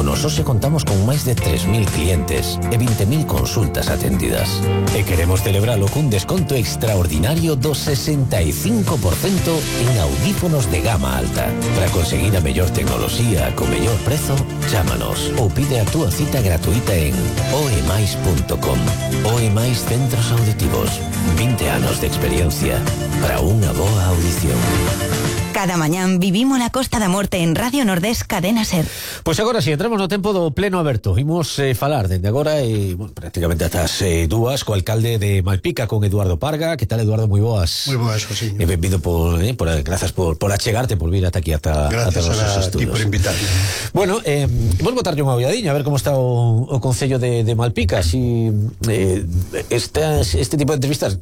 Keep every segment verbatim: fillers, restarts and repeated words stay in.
Nos hoxe contamos con máis de tres mil clientes e vinte mil consultas atendidas. E queremos celebralo cun desconto extraordinario do sesenta e cinco por cento en audífonos de gama alta. Para conseguir a mellor tecnoloxía co mellor prezo, chámanos ou pide a túa cita gratuita en oemais punto com. Oemais Centros Auditivos. vinte anos de experiencia para unha boa audición. Cada mañán vivimos la Costa da Morte en Radio Nordés Cadena Ser. Pois pues agora si, entramos no tempo do pleno aberto. Imos eh, falar dende agora e, bueno, prácticamente hasta as eh, dúas co alcalde de Malpica, con Eduardo Parga. Que tal, Eduardo? Moi boas. Moi boas, Josiño. E benvido por, eh, por, grazas por, por achegarte, por vir ata aquí, ata, ata os nosos estudios. Gracias a ti por invitarme. Bueno, eh, vos botarlle unha olladinha a ver como está o, o Concello de, de Malpica. Si eh, estas, este tipo de entrevistas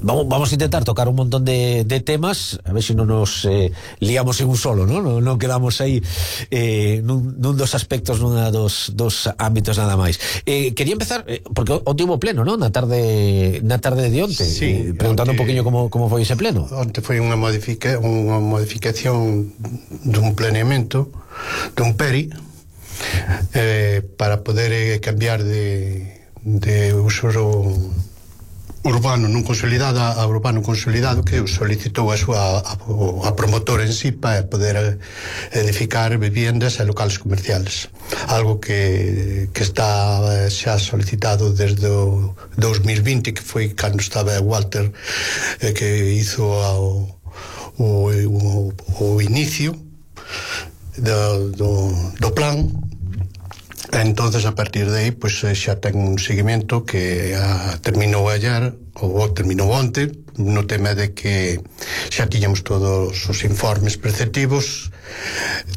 vamos, vamos a intentar tocar un montón de, de temas, a ver si non nos eh, liamos en un solo, ¿no? Non, non quedamos aí eh, nun, nun dos aspectos, nunha dos, dos ámbitos nada máis. Eh, quería empezar, eh, porque o tivo pleno, ¿no? Na tarde na tarde de onte, sí, eh, preguntando onte, un poquinho como, como foi ese pleno. Onte foi unha modifica, unha modificación dun planeamento dun P E R I eh, para poder eh, cambiar de, de uso urbano non consolidado a urbano consolidado, que solicitou a súa a, a promotora en sí para poder edificar viviendas e locales comerciales, algo que, que está xa solicitado desde o dos mil vinte, que foi cando estaba Walter eh, que hizo o, o, o, o inicio do, do, do plan. Entonces, a partir de aí, pues, xa ten un seguimento que a, terminou ayer, ou terminou onte, no tema de que xa tiñamos todos os informes preceptivos,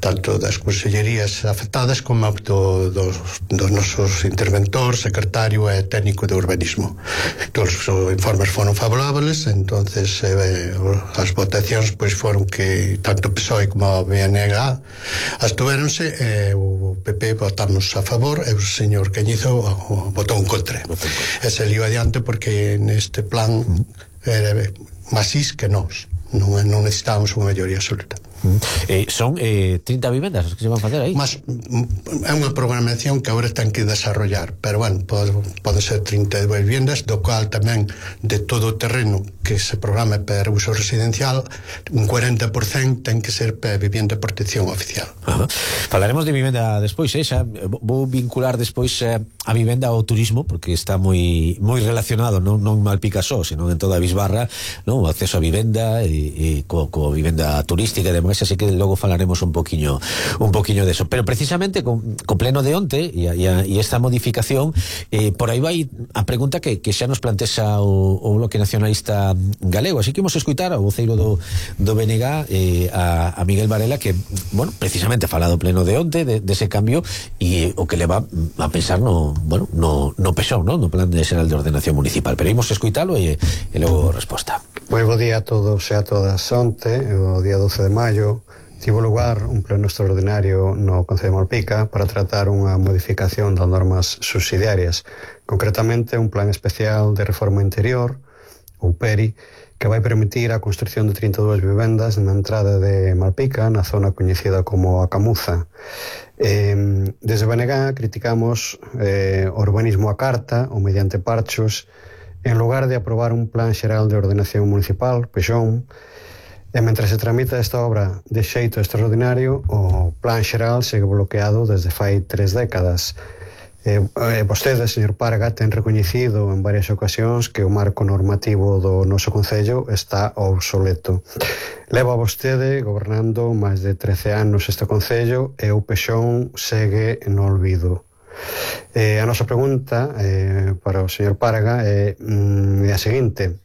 tanto das consellerías afectadas como do, dos, dos nosos interventores, secretario e técnico de urbanismo. Todos os informes foron favorables, entonces eh, as votacións pois foron que tanto P S O E como a B N G astuvéronse, e o P P votamos a favor e o señor Cañizo votou en contra. E se liu adiante porque neste plan era masís que nós non, non necesitábamos unha maioría absoluta. Eh, son eh, trinta vivendas as que se van facer aí. Mas é unha programación que agora ten que desarrollar, pero bueno, pode, pode ser trinta e dúas vivendas, do cual tamén de todo o terreno que se programa para uso residencial, un cuarenta por cento ten que ser para vivienda de protección oficial. Ajá. Falaremos de vivenda despois, eh? Xa vou vincular despois eh, a vivenda ao turismo, porque está moi moi relacionado, non, non Malpica só, senón en toda a Bisbarra, non? O acceso a vivenda e, e co, co vivenda turística e demais, así que logo falaremos un poquiño un poquiño de eso, pero precisamente con, con pleno de onte e, e, e esta modificación, eh, por aí vai a pregunta que, que xa nos plantexa o, o Bloque Nacionalista Galego, así que imos escutar ao voceiro do, do B N G eh, a, a Miguel Varela, que, bueno, precisamente fala do pleno de onte, de, de ese cambio e o que le va a pensar no, bueno, no, no P S O E, no, no Plan de Xeral de Ordenación Municipal, pero imos escuitalo e, e logo resposta. Pois bo día a todos e a todas. Onte, o día doce de maio, tivo lugar un pleno extraordinario no Concello de Malpica para tratar unha modificación das normas subsidiarias, concretamente un plan especial de reforma interior, ou P E R I, que vai permitir a construción de trinta e dúas vivendas na entrada de Malpica, na zona coñecida como a Camuza. Eh, desde B N G criticamos eh, o urbanismo a carta ou mediante parchos, en lugar de aprobar un plan xeral de ordenación municipal, P X O M, e mentre se tramita esta obra de xeito extraordinario, o plan xeral segue bloqueado desde fai tres décadas. Eh, eh, vostede, señor Parga, ten recoñecido en varias ocasións que o marco normativo do noso Concello está obsoleto. Leva vostede gobernando máis de trece anos este Concello e o P X O M segue no olvido. Eh, a nosa pregunta eh, para o señor Parga é, mm, é a seguinte: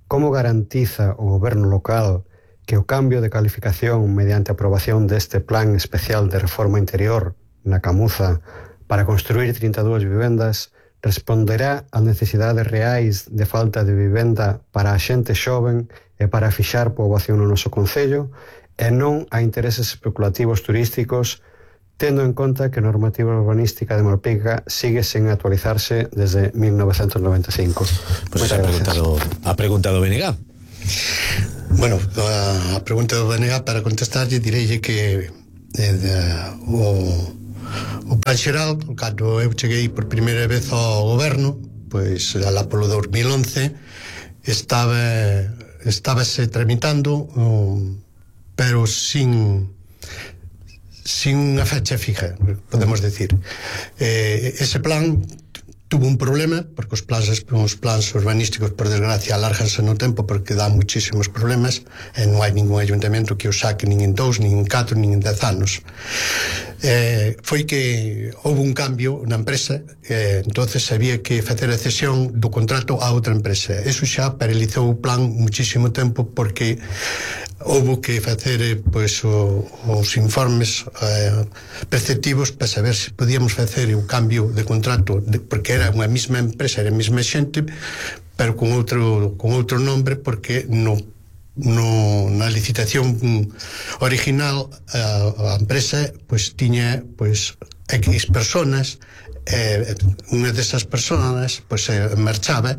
como garantiza o goberno local que o cambio de calificación mediante a aprobación deste plan especial de reforma interior na Camuza para construir trinta e dúas vivendas responderá ás necesidades reais de falta de vivenda para a xente xoven e para fixar poboación no noso Concello, e non a intereses especulativos turísticos, tendo en conta que a normativa urbanística de Malpica sigue sen actualizarse desde mil novecentos noventa e cinco. Pues ha preguntado, ha preguntado B N G. Bueno, a, a pregunta do B N G, para contestarlle, direille que eh, de, o o plan xeral, cando eu cheguei por primeira vez ao goberno, pois alá polo dos mil once estaba estábase tramitando, um, pero sin sin unha fecha fija, podemos decir. Eh, ese plan tuvo un problema, porque os plans, os plans urbanísticos, por desgracia, alárganse no tempo porque dá muchísimos problemas e non hai ningún ayuntamento que os saque nin en dous, nin en catro, nin en dez anos. Eh, foi que houve un cambio na empresa, eh, entonces había que facer a cesión do contrato a outra empresa. Eso xa paralizou o plan muchísimo tempo porque houve que facer eh, pois, o, os informes eh, preceptivos para saber se podíamos facer o cambio de contrato, de, porque era unha mesma empresa, era a mesma xente, pero con outro, con outro nombre, porque no, no, na licitación original a, a empresa pois, tiña pois, X personas, eh, unha desas personas pois, eh, marchaba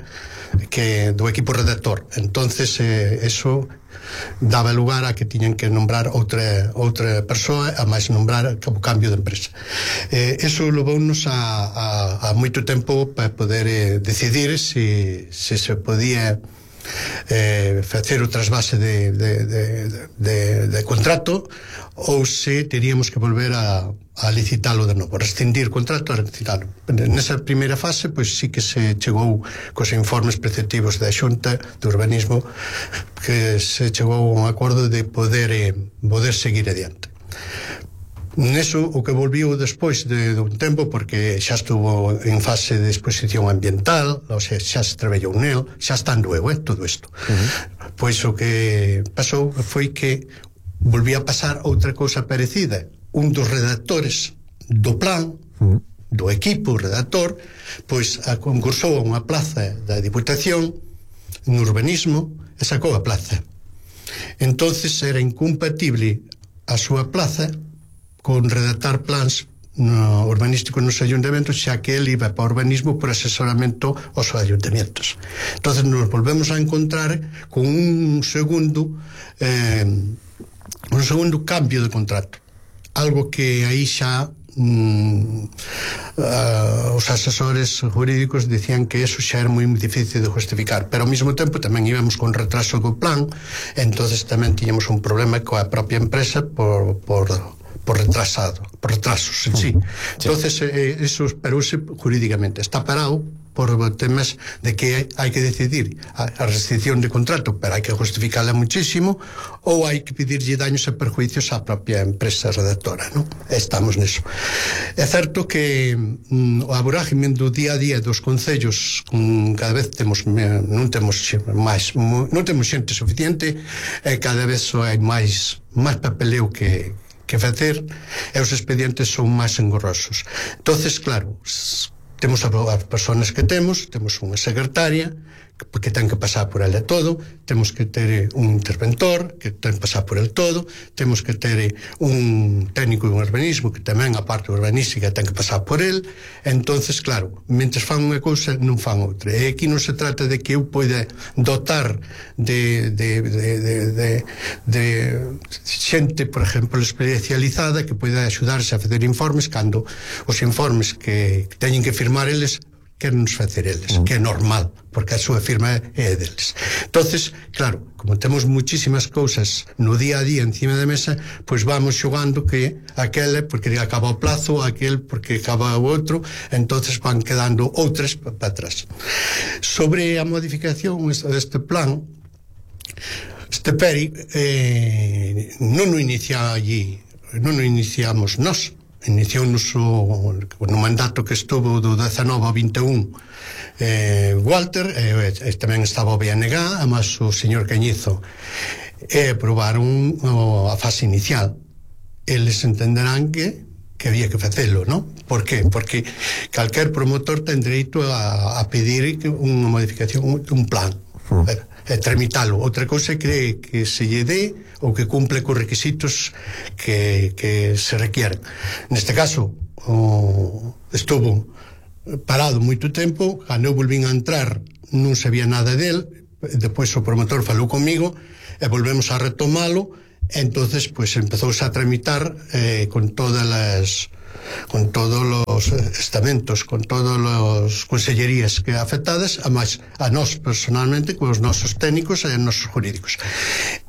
que do equipo redactor, entonces eh, eso daba lugar a que tiñan que nombrar outra outra persoa, a máis nombrar o cambio de empresa. Eh, eso levounos a, a, a moito tempo para poder eh, decidir se, se se podía eh, facer o trasvase de, de, de, de, de contrato ou se teríamos que volver a, a licitalo de novo, rescindir contrato a licitalo. Nesa primeira fase, pois sí que se chegou cos informes preceptivos da Xunta de Urbanismo, que se chegou a un acordo de poder, eh, poder seguir adiante. Neso, o que volviu despois de, de un tempo, porque xa estuvo en fase de exposición ambiental, ou sea, xa se traballou nel, xa estando eu, eh, todo isto. Uh-huh. Pois o que pasou foi que volvía a pasar outra cousa parecida. Un dos redactores do plan, uh-huh, do equipo redactor, pois a concursou a unha plaza da Diputación no urbanismo e sacou a plaza. Entonces era incompatible a súa plaza con redactar plans no urbanísticos nos ayuntamentos, xa que ele iba para urbanismo por asesoramento aos ayuntamentos. Entonces nos volvemos a encontrar con un segundo eh, un segundo cambio de contrato, algo que aí xa mm, uh, os asesores jurídicos dicían que eso xa era moi difícil de justificar, pero ao mesmo tempo tamén íbamos con retraso do plan, entonces tamén tiñamos un problema coa propia empresa por, por por retrasado, por retrasos en sí. sí. Entonces, eh, eso esperouse jurídicamente. Está parado por temas de que hai que decidir a, a restricción de contrato, pero hai que justificarla muchísimo, ou hai que pedirlle daños e perjuicios á propia empresa redactora, ¿no? Estamos neso. É certo que mm, a vorágine do día a día dos concellos, mm, cada vez temos non temos máis, non temos xente suficiente, e cada vez hai máis máis papeleo que que facer, e os expedientes son máis engorrosos. Entonces, claro, temos as persoas que temos, temos unha secretaria que ten que pasar por ela todo, temos que ter un interventor que ten que pasar por el todo, temos que ter un técnico de urbanismo que tamén a parte urbanística ten que pasar por el. Entonces, claro, mentres fan unha cousa non fan outra, e aquí non se trata de que eu poida dotar de de, de, de, de, de xente, por exemplo, especializada que poida axudarse a facer informes, cando os informes que teñen que firmar eles querenos facer eles, mm. que é normal, porque a súa firma é deles. Entonces, claro, como temos muchísimas cousas no día a día encima da mesa, pois vamos xogando que aquele porque acaba o plazo, aquel porque acaba o outro, entonces van quedando outras para atrás. Sobre a modificación deste plan, este P E R I eh, non o inicia allí, non o iniciamos nós, iniciou no, no mandato que estuvo do dezanove ao vinte e un eh, Walter, e eh, tamén estaba o B N G, además o señor Cañizo, e aprobaron o, a fase inicial. Eles entenderán que que había que facelo, non? Por que? Porque calquer promotor ten dereito a, a pedir unha modificación, un plan, uh. e, e tramitalo. Outra cousa é que, que se lle dé ou que cumple cos requisitos que, que se requieren. Neste caso, o, estuvo parado moito tempo, cando eu volvín a entrar non sabía nada del, depois o promotor falou comigo e volvemos a retomalo, entonces pues empezouse a tramitar eh, con todas as con todos os estamentos, con todas as consellerías que afectadas, a máis a nós personalmente, con os nosos técnicos e os nosos jurídicos.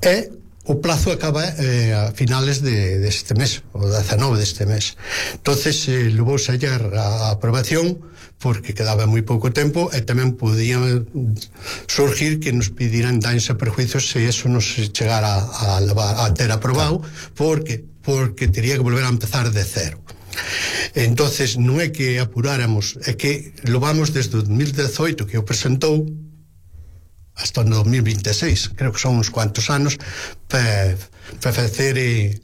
E o plazo acaba eh, a finales de, de este mes, o dezanove deste mes. Entonces eh, levou a hallar a aprobación porque quedaba moi pouco tempo e tamén podía surgir que nos pidieran daños e perjuicios se eso nos chegara a, a, a ter aprobado, porque porque teria que volver a empezar de cero. Entonces non é que apuráramos, é que lo vamos desde o dos mil dezoito que o presentou hasta o dos mil vinte e seis, creo que son uns cuantos anos para pa facer eh,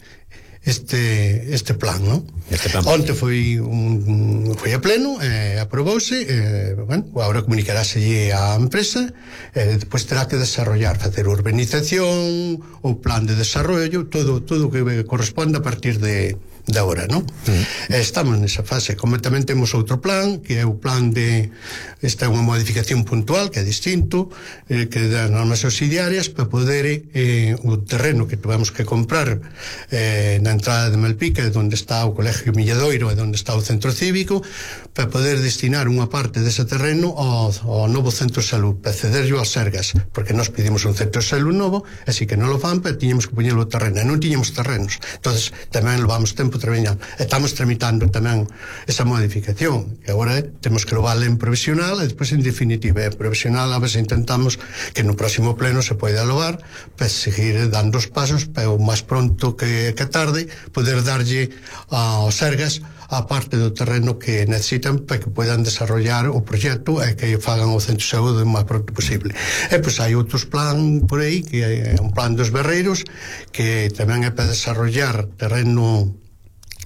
este este plan, ¿no? Este plan. Onte foi un foi a pleno, eh, aprobouse, eh, bueno, agora comunicaráselle á empresa, eh, depois terá que desarrollar, facer urbanización, o plan de desarrollo, todo todo o que corresponde a partir de de agora, non? Mm. Estamos nesa fase. Como tamén temos outro plan, que é o plan de esta é unha modificación puntual, que é distinto, eh, que das normas subsidiarias para poder eh, o terreno que tuvemos que comprar eh, na entrada de Malpica, onde está o Colegio Milladoiro e onde está o centro cívico, para poder destinar unha parte dese terreno ao, ao novo centro de salud, para cederlo ás Sergas, porque nós pedimos un centro de salud novo, así que non lo fan, pero tiñamos que poñelo o terreno, e non tiñamos terrenos. Entonces tamén levamos tempo traballando. Estamos tramitando tamén esa modificación, que agora eh, temos que levarla en provisional e despois en definitiva. En provisional a veces intentamos que no próximo pleno se poida levar para seguir dando os pasos para o máis pronto que, que tarde poder darlle aos Sergas a parte do terreno que necesitan para que poidan desarrollar o proxecto e que fagan o centro de saúde o máis pronto posible. E pois hai outros plan por aí, que é un plan dos berreiros, que tamén é para desarrollar terreno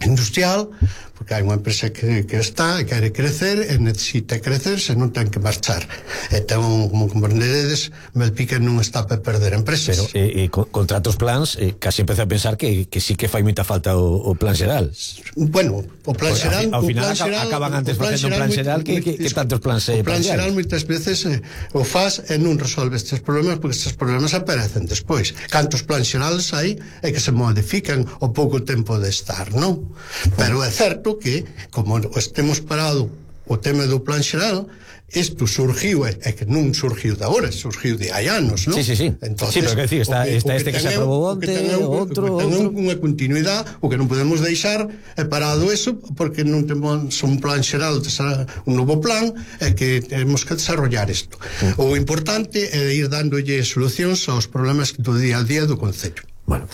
industrial, porque hai unha empresa que, que está e quere crecer e necesita crecer, se non ten que marchar. Entón, como comprenderedes, Malpica non está para perder empresas. Pero eh, eh, contra outros plans, eh, casi empeza a pensar que, que sí que fai moita falta o, o plan xeral. Bueno, o plan xeral, ao final plan xeral, acaban antes facendo un plan xeral que, que, que tantos plans eh, o plan xeral moitas veces eh, o faz e non resolve estes problemas, porque estes problemas aparecen despois. Cantos plans xerales hai e que se modifican o pouco tempo de estar, non? Pero é certo que, como estemos parado o tema do plan xeral, isto surgiu, é que non surgiu de agora, surgiu de hai anos, non? Sí, sí, sí. Entonces, sí, pero que decir, está, que, está este que, que se aprobou onte, outro, outro. Ten unha continuidade, o que non podemos deixar é parado eso, porque non temos un plan xeral, un novo plan, é que temos que desarrollar isto. Mm. O importante é ir dándolle solucións aos problemas do día a día do Concello. Bueno,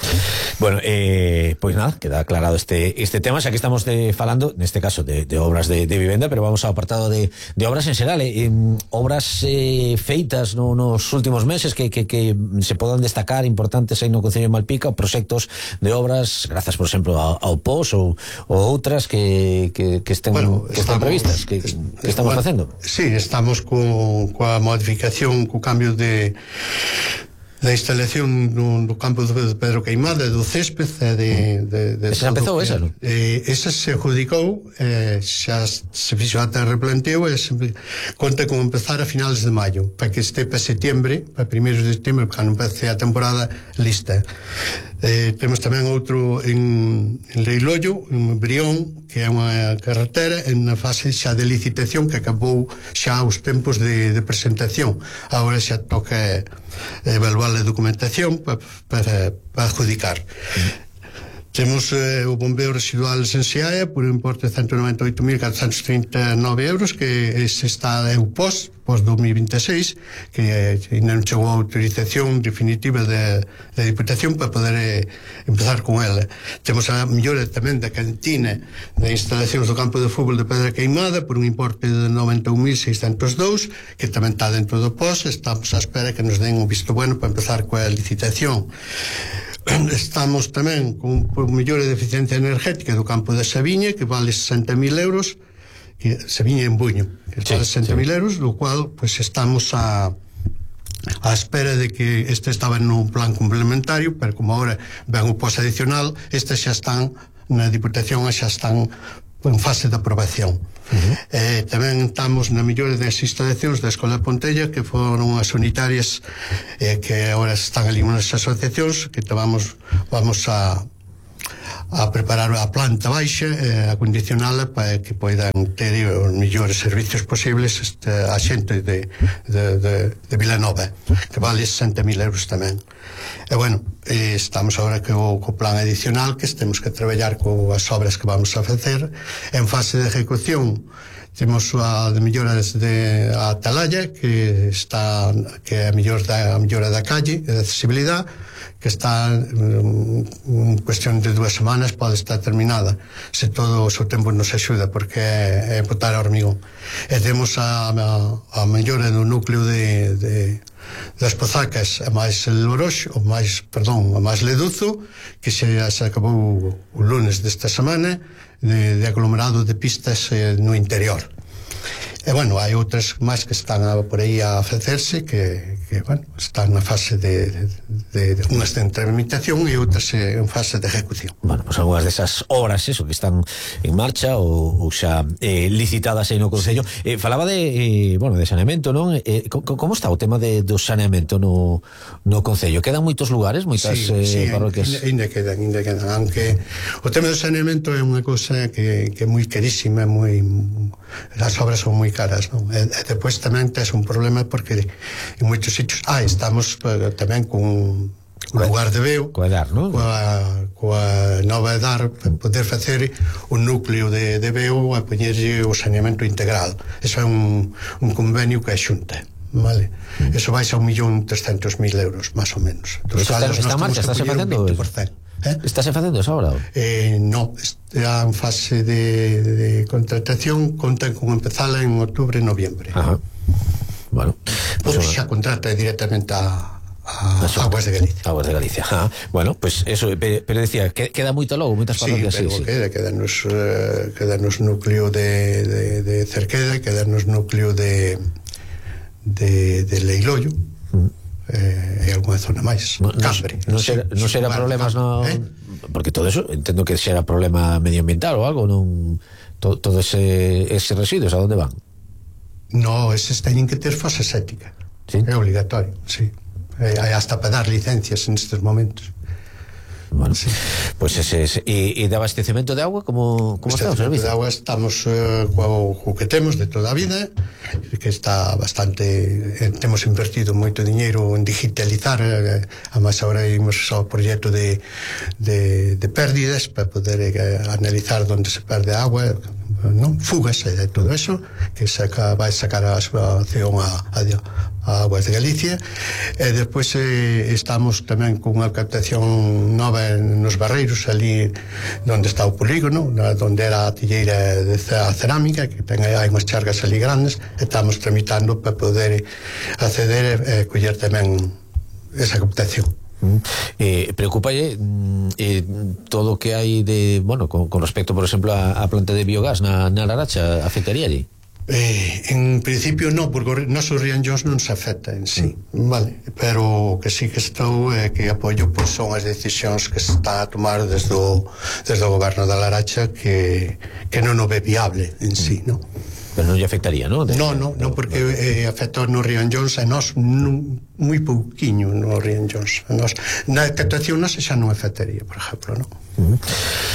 bueno eh, pois nada, queda aclarado este este tema, xa que estamos de, falando, neste caso, de, de obras de, de vivenda, pero vamos ao apartado de, de obras en xeral, eh, obras eh, feitas no, nos últimos meses que, que, que se podan destacar, importantes aí no Concello de Malpica, proxectos de obras, grazas, por exemplo, ao, ao P O S ou, ou outras que, que, que estén, bueno, que están previstas, que, que estamos bueno, facendo. Sí, estamos co, coa modificación, co cambio de da instalación no, no campo de Pedro Queimada, do césped e de, de, de esa empezou esa, non? Eh, esa se adjudicou, eh, xa se fixo ata replanteo e se conta con empezar a finales de maio, para que este para setiembre, para primeiros de setiembre, para non empece a temporada lista. Eh, temos tamén outro en, en Leiloio, en Brión, que é unha carretera en na fase xa de licitación, que acabou xa os tempos de, de presentación. Agora xa toca evaluar a documentación para pa, pa adjudicar. Mm. Temos eh, o bombeo residual en Seaia por un importe de ciento noventa e oito mil catrocentos trinta e nove euros, que ese está é o P O S, P O S dos mil vinte e seis, que eh, ainda non chegou a autorización definitiva da Diputación para poder eh, empezar con ela. Temos a mellora tamén da cantina de instalacións do campo de fútbol de Pedra Queimada por un importe de noventa e un mil seiscentos e dous, que tamén está dentro do P O S. Estamos á espera que nos den un visto bueno para empezar coa licitación. Estamos tamén con un mellora de eficiencia energética do campo de Sabiña, que vale sesenta mil euros, que Sabiña en Buño, que sí, vale sesenta mil sí. euros, do cual pues estamos a a espera de que este estaba nun plan complementario, pero como agora ven o P O S adicional, estas xa están na Diputación e xa están en fase de aprobación. Uh-huh. Eh, tamén estamos na mellora das instalacións da Escola de Pontella, que foron as unitarias eh, que agora están ali nas asociacións, que vamos, vamos a a preparar a planta baixa, eh, a condicionala para que poidan ter os mellores servicios posibles este, a xente de, de, de, de Vilanova, que vale sesenta mil euros tamén. E bueno, eh, estamos agora co, co plan adicional, que temos que traballar coas obras que vamos a facer en fase de ejecución. Temos a de melloras de a Atalaya, que está que é a mellor da a mellora da calle, de accesibilidade, que está en um, cuestión de dúas semanas pode estar terminada, se todo o seu tempo nos axuda, porque é, é botar a hormigón. E temos a, a, a mellora do núcleo de, de das Pozacas, a máis Lorox, o máis, perdón, a máis Leduzo, que se, se acabou o lunes desta semana, de, de aglomerado de pistas eh, no interior. E, bueno, hai outras máis que están a, por aí a facerse, que, que bueno, están na fase de, de, de unhas de tramitación e outras eh, en fase de ejecución. Bueno, pues algunhas desas obras, eso, que están en marcha ou, ou xa eh, licitadas aí no Concello. Eh, falaba de, eh, bueno, de saneamento, non? Eh, co, como está o tema de, do saneamento no, no Concello? Quedan moitos lugares, moitas sí, eh, sí, parroquias? Ainda quedan, ainda quedan, aunque o tema do saneamento é unha cousa que, que é moi carísima, moi, as obras son moi caras, non? E, e depois tamén tes un problema porque en moitos sitios, ah, estamos uh, tamén con un lugar de veo coa Edar, non? Coa, coa nova Edar, para poder facer un núcleo de, de veo a poñerlle o saneamento integral. Eso é un, un convenio que é xunta, vale? Mm. Eso vai a un millón trescentos mil euros, máis ou menos. Entón, está, está en marcha, está se facendo ¿Eh? Está se facendo esa obra? Eh, no, está en fase de, de contratación, contan con empezala en outubro e noviembre. Ajá. Bueno, pues xa contrata directamente a, a Aguas de Galicia. Aguas de Galicia. Ajá. Bueno, pues eso, pero decía, que queda moito logo, moitas parroquias. Sí, pero sí, queda, queda nos, uh, queda nos núcleo de, de, de Cerqueda, queda nos núcleo de de, de Leiloio. Mm. Eh, e algunha zona máis, no, Cambre, non no será, no será problemas no, eh? Porque todo eso entendo que será problema medioambiental ou algo, non to, todo ese, ese residuos a onde van? No, eses teñen que ter fosa séptica, ¿sí? É obligatorio, sí, eh, hai hasta para dar licencias en estes momentos. Bueno, sí. Pues ese, ese e, e de abastecemento de agua, como, como está o servicio? De agua estamos uh, co, co que temos de toda a vida, que está bastante, eh, temos invertido moito diñeiro en digitalizar, eh, a máis agora imos ao proxecto de, de, de pérdidas para poder eh, analizar onde se perde agua, non? Fugas e de todo eso, que saca, vai sacar a súa acción a, a, a Aguas de Galicia. E despois eh, estamos tamén con unha captación nova nos Barreiros, ali onde está o polígono, onde era a tilleira de a cerámica, que ten hai unhas chargas ali grandes, estamos tramitando para poder acceder e eh, coller tamén esa captación. Eh, preocupalle eh, todo o que hai de, bueno, con, con respecto, por exemplo, a, a planta de biogás na, na Laracha, afectaríalle? Eh, en principio no, porque o noso Rianllóns non se afecta en sí, mm. vale, pero que sí que estou eh, que apoio, pois son as decisións que se está a tomar desde o, desde o goberno da Laracha, que, que non o ve viable en sí, non? Pero non lle afectaría, non? No, no, no, porque eh, afecta no Rianllóns a nós moi pouquiño no Rianllóns. A nós, na captación nós xa non afectaría, por exemplo, non? Uh -huh.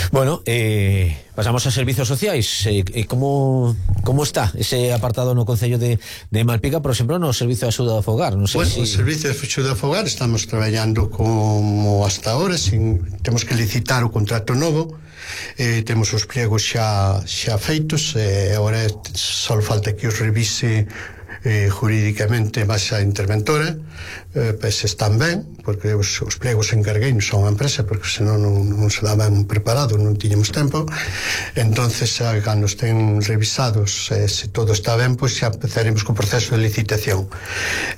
Bueno, eh, pasamos a servizos sociais. Eh, eh, como, como está ese apartado no Concello de, de Malpica, por exemplo, no servicio de axuda ao fogar? Non sei bueno, si... o servicio de axuda ao fogar estamos traballando como hasta ahora, sin, temos que licitar o contrato novo. Eh, temos os pliegos xa, xa feitos, e eh, agora só falta que os revise eh, jurídicamente máis a interventora, eh, pues están ben, porque os, os pliegos encargueinos son a empresa, porque senón non, non se daban preparados, non tiñamos tempo. Entonces, a, cando estén revisados, eh, se todo está ben, pois pues xa empezaremos co proceso de licitación.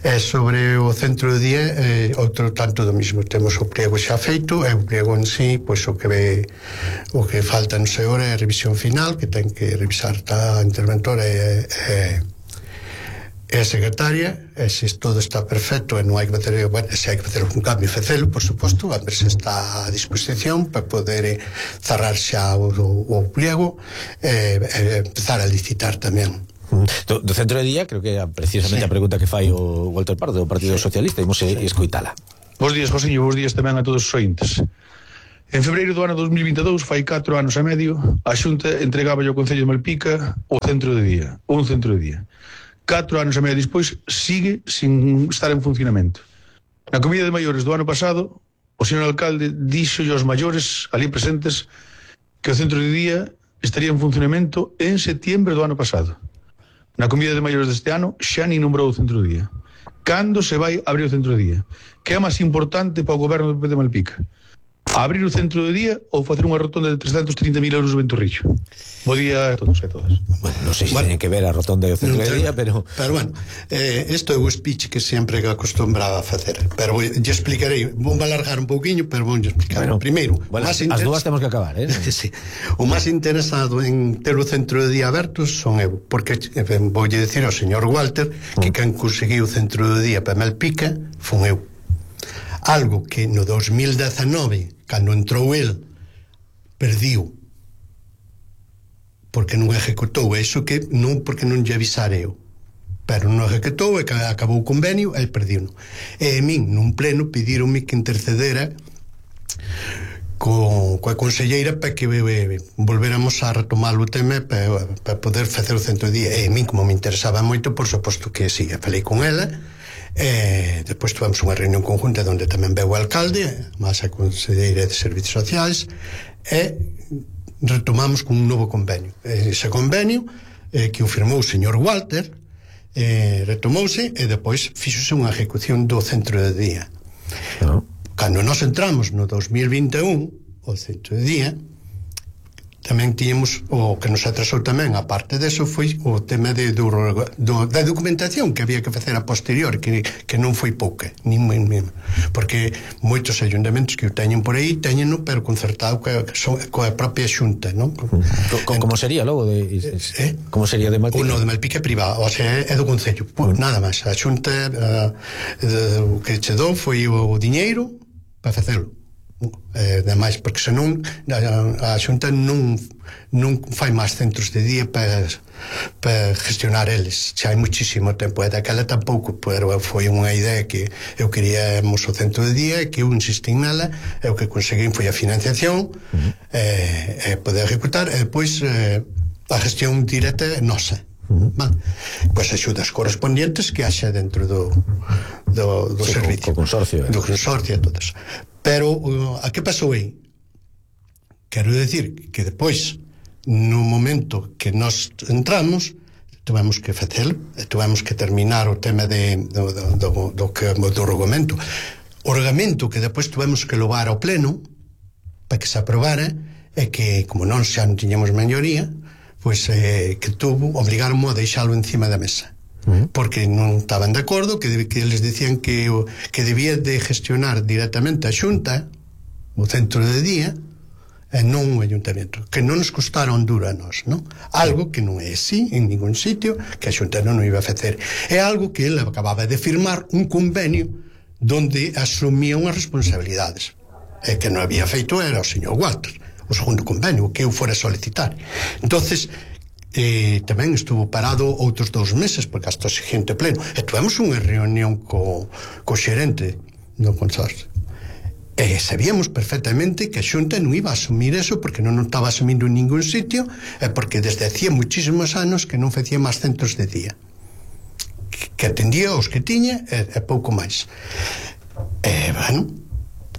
E eh, sobre o centro de día, eh, outro tanto do mismo, temos o pliego xa feito, e o pliego en sí, pois pues, o que ve, o que falta non sei hora é a revisión final, que ten que revisar a interventora e, e é a secretaria, e se todo está perfecto e non hai que facer, bueno, se hai que facer un cambio, facelo, por suposto, a ver se está a disposición para poder cerrar xa o, o, o pliego e, e empezar a licitar tamén. Do, do centro de día, creo que é precisamente sí. A pregunta que fai o Walter Pardo do Partido sí. Socialista, imos sí. escoitala. Bos días, Josiño, bos días tamén a todos os ointes. En febreiro do ano dos mil vinte e dous, fai catro anos e medio, a Xunta entregaba ao Concello de Malpica o centro de día, un centro de día. Catro anos e medio despois, sigue sin estar en funcionamento. Na comida de maiores do ano pasado, o señor alcalde dixo aos maiores ali presentes que o centro de día estaría en funcionamento en setiembre do ano pasado. Na comida de maiores deste ano, xa ni nombrou o centro de día. Cando se vai abrir o centro de día? Que é máis importante para o goberno do P P de Malpica? Abrir o centro de día ou facer unha rotonda de trescentos trinta mil euros no Ventorrillo? Bo día a todos e a todas. Bueno, non sei se bueno, teñen que ver a rotonda e o centro de día, pero... Pero bueno, eh, isto é o speech que sempre acostumbraba a facer. Pero vou, lle explicarei, vou alargar un pouquiño, pero vou explicar. Bueno, primeiro, bueno, as interes... dúas temos que acabar, eh? Sí. O máis interesado en ter o centro de día aberto son eu, porque eh, voulle decir ao señor Walter que quen conseguiu o centro de día para Malpica fun eu. Algo que no dos mil dezenove, cando entrou el, perdiu porque non ejecutou. Iso que non porque non lle avisare eu, pero non ejecutou e acabou o convenio e perdiu. E a min nun pleno pedironme que intercedera co, coa conselleira para que eh, volveramos a retomar o tema para, para poder facer o centro de día. E a min, como me interesaba moito, por suposto que sí, falei con ela. E depois tivemos unha reunión conjunta onde tamén veu o alcalde máis a conselleira de Servicios Sociais e retomamos con un novo convenio. Ese convenio eh, que o firmou o señor Walter eh, retomouse e depois fixose unha ejecución do centro de día. No. Cando nos entramos no dos mil vinte e un o centro de día tamén tiñemos o que nos atrasou tamén, a parte deso, foi o tema de, do, do, da documentación que había que facer a posterior, que, que non foi pouca, nin, nin, porque moitos ayuntamentos que o teñen por aí teñeno, pero concertado coa, coa propia xunta, non? Como sería logo de eh? Como sería de Malpica? Uno de Malpica privado, o sea, é do Concello, mm. nada máis. A xunta uh, o que che dou foi o diñeiro para facelo. Eh, demais, porque senón a, a Xunta non non fai máis centros de día para para gestionar eles, xa hai muchísimo tempo e daquela tampouco, pero foi unha idea que eu queríamos o centro de día e que eu insistín nela e o que conseguín foi a financiación uh-huh. e, e poder ejecutar e depois eh, a gestión directa nosa. Uh-huh. Vale. Pois axudas correspondientes que haxa dentro do do, do sí, servicio co, co consorcio, eh. do consorcio e todo eso. Pero uh, a que pasou aí? Quero decir que depois no momento que nós entramos tivemos que facelo, tivemos que terminar o tema de, do, do, do, do, que, do regamento o regamento que depois tivemos que levar ao pleno para que se aprobara e que como non xa non tiñamos maioría pois eh, que tuvo, obligaron a deixalo encima da mesa porque non estaban de acordo, que, que eles dicían que, que debía de gestionar directamente a Xunta o centro de día e non o ayuntamento, que non nos costaron duro a nós, non? Algo que non é así en ningún sitio, que a Xunta non o iba a facer. É algo que ele acababa de firmar un convenio donde asumía unhas responsabilidades e que non había feito era o señor Walter, o segundo convenio que eu fora solicitar. Entonces eh, tamén estuvo parado outros dous meses porque hasta o seguinte pleno e tuvemos unha reunión co, co xerente do consorcio e sabíamos perfectamente que a Xunta non iba a asumir eso porque non o estaba asumindo en ningún sitio e porque desde hacía muchísimos anos que non facía máis centros de día que, que atendía os que tiña e, e pouco máis e bueno,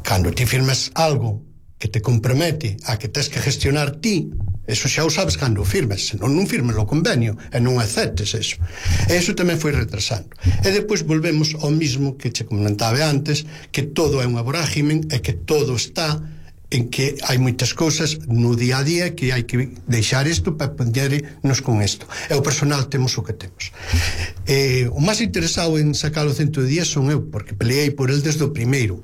cando ti firmas algo que te compromete a que tens que gestionar ti, eso xa o sabes cando o firmes, senón non firmes o convenio e non aceptes eso. E eso tamén foi retrasando. E depois volvemos ao mismo que che comentaba antes, que todo é unha vorágime e que todo está en que hai moitas cousas no día a día que hai que deixar isto para podernos con isto. E o personal temos o que temos. E, o máis interesado en sacar o centro de día son eu, porque peleei por el desde o primeiro.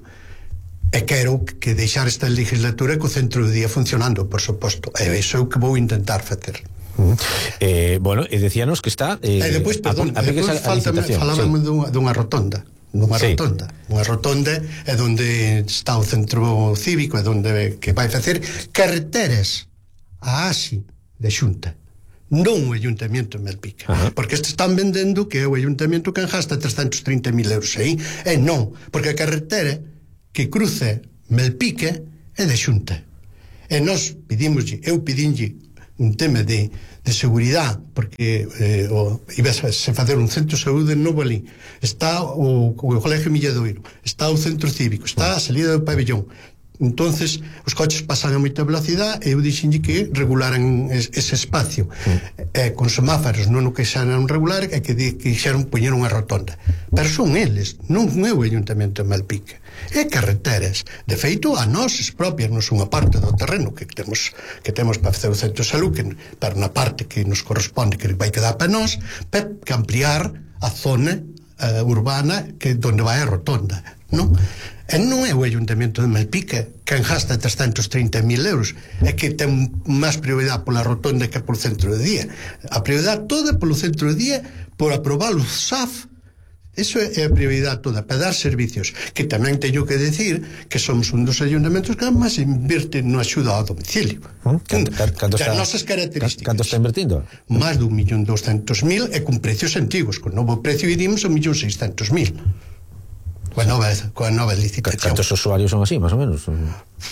E quero que deixar esta legislatura co centro de día funcionando, por suposto. E iso é o que vou intentar facer. Uh-huh. eh, bueno, e decíanos que está eh, e depois, perdón, a, a, depois a, a falábamos sí. dunha, dunha rotonda dunha sí. rotonda unha rotonda é onde está o centro cívico, é onde que vai facer carreteras a ASI de Xunta, non o Ayuntamiento de Malpica, uh-huh. porque este están vendendo que é o Ayuntamiento que gasta trescentos trinta mil euros aí, e non, porque a carretera que cruce Malpica é de Xunta. E nós pedimoslle, eu pedinlle un tema de, de seguridade, porque eh, o, iba a se facer un centro de saúde novo ali, está o, o Colegio Milladoiro, está o centro cívico, está a salida do pabellón. Entonces os coches pasan a moita velocidade e eu dixenlle que regularan es, ese espacio, mm. e con semáforos non o que xeran regular e que quixeron poñer unha rotonda, pero son eles, non é o Ayuntamento de Malpica, é carreteras. De feito, a nós propias non son unha parte do terreno que temos que temos para facer o centro de salud, que, para unha parte que nos corresponde, que vai quedar para nós, para que ampliar a zona uh, urbana que donde vai a rotonda, non? E non é o Ayuntamento de Malpica quen gasta trescentos trinta mil euros, é que ten máis prioridade pola rotonda que polo centro de día. A prioridade toda polo centro de día, por aprobar o S A F. Eso é a prioridade toda, para dar servicios, que tamén teño que decir que somos un dos ayuntamentos que máis invierte no axuda ao domicilio. Canto, canto está, das nosas características. Canto está invertindo? Máis dun millón doscentos mil e con precios antigos. Con novo precio iríamos a un millón seiscentos mil. Coa nova, coa nova licitación. Cantos usuarios son así, máis ou menos?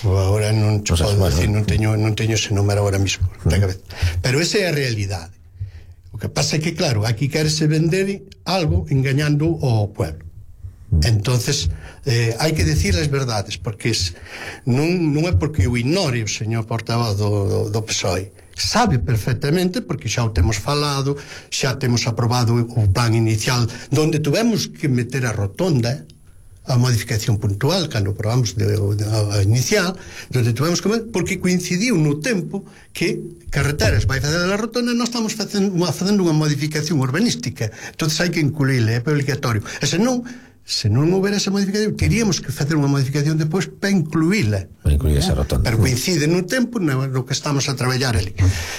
Agora non te o sea, podo bueno, decir, non teño, non teño ese número agora mismo na cabeza. Pero esa é a realidade. O que pasa é que, claro, aquí querese vender algo engañando ao pueblo. Entonces eh, hai que decir as verdades, porque es, non, non é porque o ignore o señor portavoz do, do, do P S O E, sabe perfectamente, porque xa o temos falado, xa temos aprobado o plan inicial donde tuvemos que meter a rotonda, a modificación puntual cando probamos de, de, a inicial, donde tuvemos que, porque coincidiu no tempo que carreteras vai fazer a rotonda e nós estamos facendo, facendo unha modificación urbanística, entonces hai que incluíle, é obligatorio, e se non se non houbera esa modificación, teríamos que facer unha modificación depois para incluíla, para incluir esa rotonda, pero coincide no tempo no, no que estamos a traballar ali.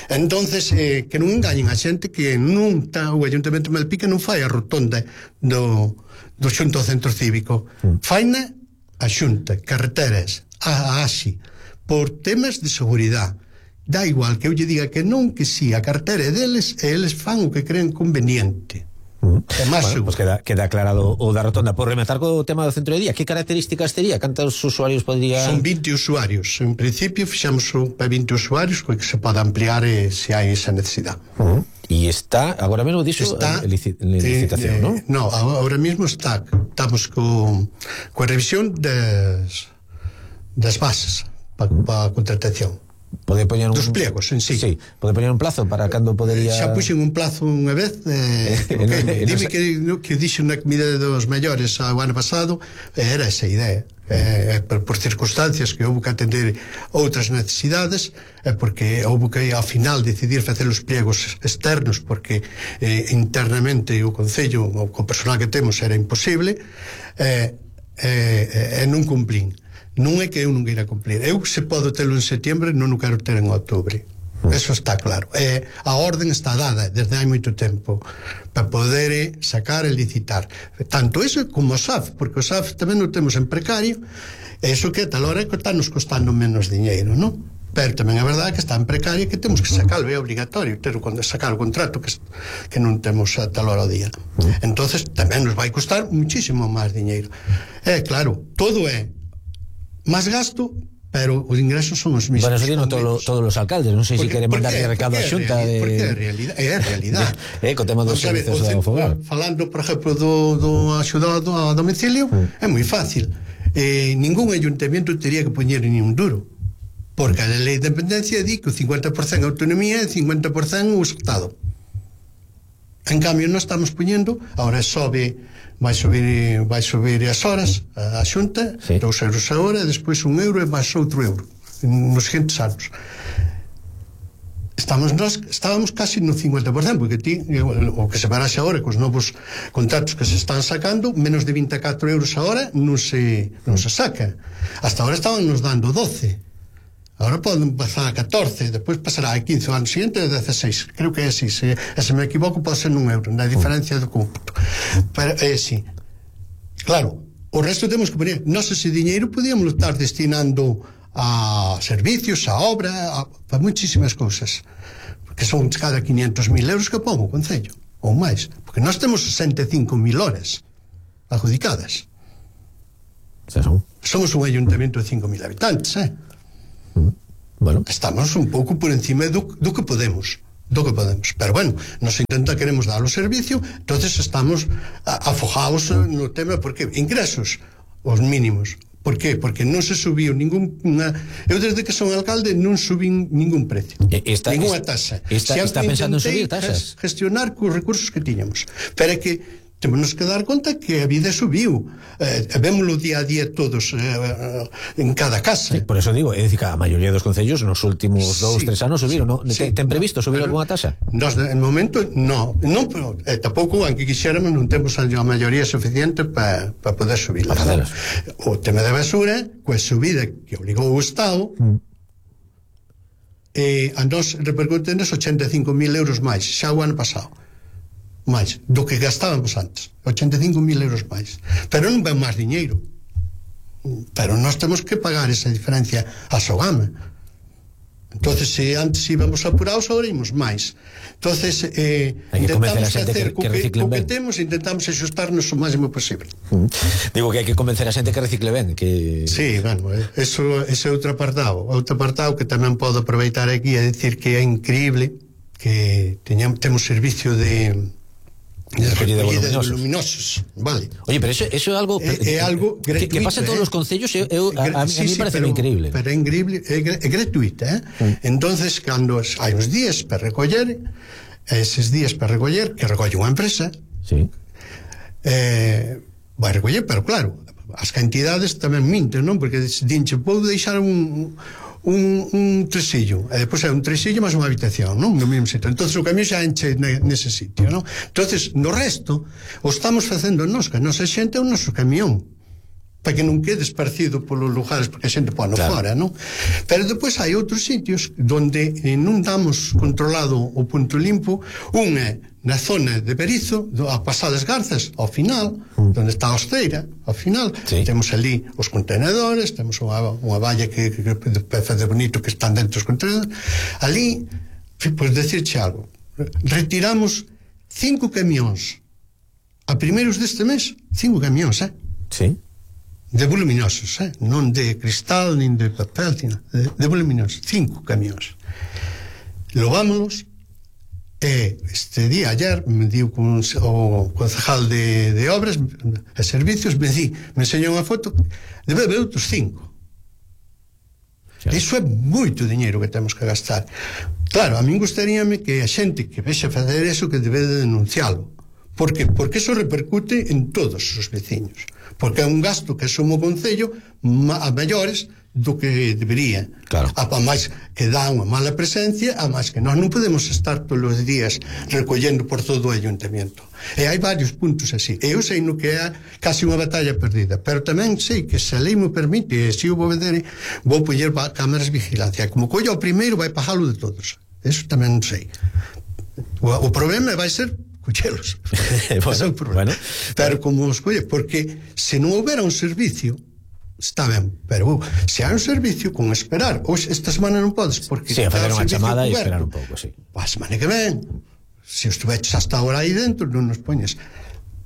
Entonces eh, que non engañen a xente que non está, o Ayuntamento de Malpica non fai a rotonda do do xunto ao centro cívico, mm. faina a xunta, carreteras, a ASI, por temas de seguridade. Dá igual que eu lle diga que non, que si, a carretera é deles e eles fan o que creen conveniente. Mm. É máis bueno, seguro. Pues queda, queda aclarado o da rotonda. Por rematar co tema do centro de día, que características tería? Cantos usuarios podría... Son vinte usuarios. En principio fixamos para vinte usuarios, que se pode ampliar eh, se hai esa necesidade. Uh -huh. E está, agora mesmo dixo, está en licitación, eh, non? Eh, no, agora mesmo está, estamos con coa revisión das das bases para pa contratación. Pode poñer un... Dos pliegos en sí. Sí, pode poñer un plazo para cando podería... Xa puxen un plazo unha vez, eh, okay, dime que, que dixo na comida dos maiores o ano pasado, era esa idea. Eh, por, por circunstancias que houve que atender outras necesidades, eh, porque houve que ao final decidir facer os pliegos externos, porque eh, internamente o Concello, o, o personal que temos, era imposible, eh, eh, e non cumplín. Non é que eu non queira cumplir, eu se podo telo en setiembre non o quero ter en outubro. Eso está claro. Eh, a orden está dada desde hai moito tempo para poder eh, sacar e licitar. Tanto eso como o S A F, porque o S A F tamén o temos en precario, e eso que a tal hora está nos costando menos diñeiro, non? Pero tamén é verdade que está en precario e que temos que sacarlo, é obligatorio ter quando sacar o contrato que, que non temos a tal hora ao día. Entonces tamén nos vai costar muchísimo máis diñeiro. É claro, todo é máis gasto, pero os ingresos son os mismos. Bueno, eso dino todo, todos os alcaldes, non sei se queren mandar recado a xunta de... Porque é a realidade, é a realidade. É, co tema dos servicios do fogar. Falando, por exemplo, do, do axudado a domicilio, mm. é moi fácil. Eh, ningún ayuntamiento teria que poñer ni un duro, porque a lei de dependencia di que o cincuenta por cento autonomía e o cincuenta por cento o Estado. En cambio, nós estamos poñendo, agora sobe... vai subir vai subir as horas a, a xunta, sí. dous euros a hora, e despois un euro e máis outro euro nos seguintes anos. Estamos nós, estábamos casi no cincuenta por cento, porque ti, o que se baraxe agora cos novos contratos que se están sacando, menos de vinte e catro euros a hora non se, non se saca. Hasta agora estaban nos dando doce. Agora poden pasar a catorce, despois pasará a quince, o ano seguinte a dezasseis. Creo que é así, se, se me equivoco pode ser un euro na diferencia do cómputo, pero é así. Claro, o resto temos que poner, nós ese diñeiro podíamos estar destinando a servicios, a obra, a, a muchísimas cousas, porque son cada quinientos mil euros que pon o Concello, ou máis, porque nós temos sesenta e cinco mil horas adjudicadas. Somos un ayuntamento de cinco mil habitantes, eh? Mm. Bueno. Estamos un pouco por encima do, do que podemos do que podemos, pero bueno, nos intenta queremos dar o servicio, entonces estamos afogados no tema, porque ingresos os mínimos. Por qué? Porque non se subiu ningún una, eu desde que son alcalde non subín ningún precio, está, ninguna taxa. Está, está pensando en subir taxas? Gestionar cos recursos que tiñamos, pero é que temos que dar conta que a vida subiu, eh, vémoslo día a día todos, eh, en cada casa. Sí, por eso digo, é dicir que a maioría dos concellos nos últimos dous, sí, tres anos subiron, ¿no? Sí, ten previsto subir pero, alguna taxa? Nos, en momento, no, non, pero eh, tampouco, aunque quixéramos, non temos a maioría suficiente para pa poder subir. O tema da basura, coa subida que obligou o Estado, mm. eh, a nos repercute nos ochenta e cinco mil euros máis, xa o ano pasado. máis do que gastábamos antes, ochenta e cinco mil euros máis, pero non ven máis diñeiro, pero nós temos que pagar esa diferencia a Sogama. Entonces, se antes íbamos apurados, agora íbamos máis. Entonces, eh, intentamos que hacer que, que, que, o que temos, intentamos ajustarnos o máximo posible. Mm. Digo que hai que convencer a xente que recicle ben, que... Sí, bueno, eso, ese é outro apartado, outro apartado que tamén podo aproveitar aquí a decir que é increíble que teñamos, temos servicio de de recollida de voluminosos. voluminosos, vale. Oye, pero eso, eso é algo é, é algo gratuito, que, que pasa en todos eh? os concellos, eu, eu, a, a, a sí, mí sí, parece pero, increíble. Pero é increíble, é, é gratuita, eh? Mm. Entonces, cando hai uns días para recoller, eses días para recoller, que recolle unha empresa, sí. eh, vai recoller, pero claro, as cantidades tamén minten, non? Porque dinche, vou deixar un un, un tresillo, e depois é un tresillo máis unha habitación, non? No mesmo sitio. Entonces o camión xa enche nese sitio, non? Entonces, no resto, o estamos facendo nos, que a nosa xente é o noso camión, para que non quede esparcido polos lugares, porque a xente pone claro. Fora, non? Pero depois hai outros sitios donde eh, non damos controlado o punto limpo. Un é na zona de Berizo, a pasadas Garzas, ao final, mm. donde está a Osteira, ao final, sí. Temos ali os contenedores, temos unha, unha valla que, que, que peza de bonito que están dentro dos contenedores. Ali, pois decirche algo, retiramos cinco camións a primeiros deste mes, cinco camións, eh? Sí. De voluminosos, eh? Non de cristal, nin de papel, de, de voluminosos, cinco camións. Lovámonos. E este día, ayer, me diu con o concejal de, de obras e servicios, me di, me enseñou unha foto, debe haber outros cinco. Iso é moito diñeiro que temos que gastar. Claro, a min gustaríame que a xente que vexe facer eso, que debe de denuncialo. Por que? Porque eso repercute en todos os veciños. Porque é un gasto que asume o Concello a maiores do que debería. Claro. A máis que dá unha mala presencia, a máis que nós non podemos estar todos os días recollendo por todo o ayuntamiento. E hai varios puntos así. E eu sei no que é casi unha batalla perdida, pero tamén sei que se a lei me permite, e se eu vou vender, vou poñer cámaras de vigilancia. Como collo ao primeiro, vai pagalo de todos. Eso tamén sei. O, o problema vai ser collelos. bueno, bueno. Pero como os colle, porque se non houbera un servicio, está ben, pero uh, se hai un servicio con esperar, hoxe esta semana non podes, porque sí, a fazer unha chamada e esperar un pouco, sí. A semana que ven, se estuveches hasta ahora aí dentro, non nos poñes.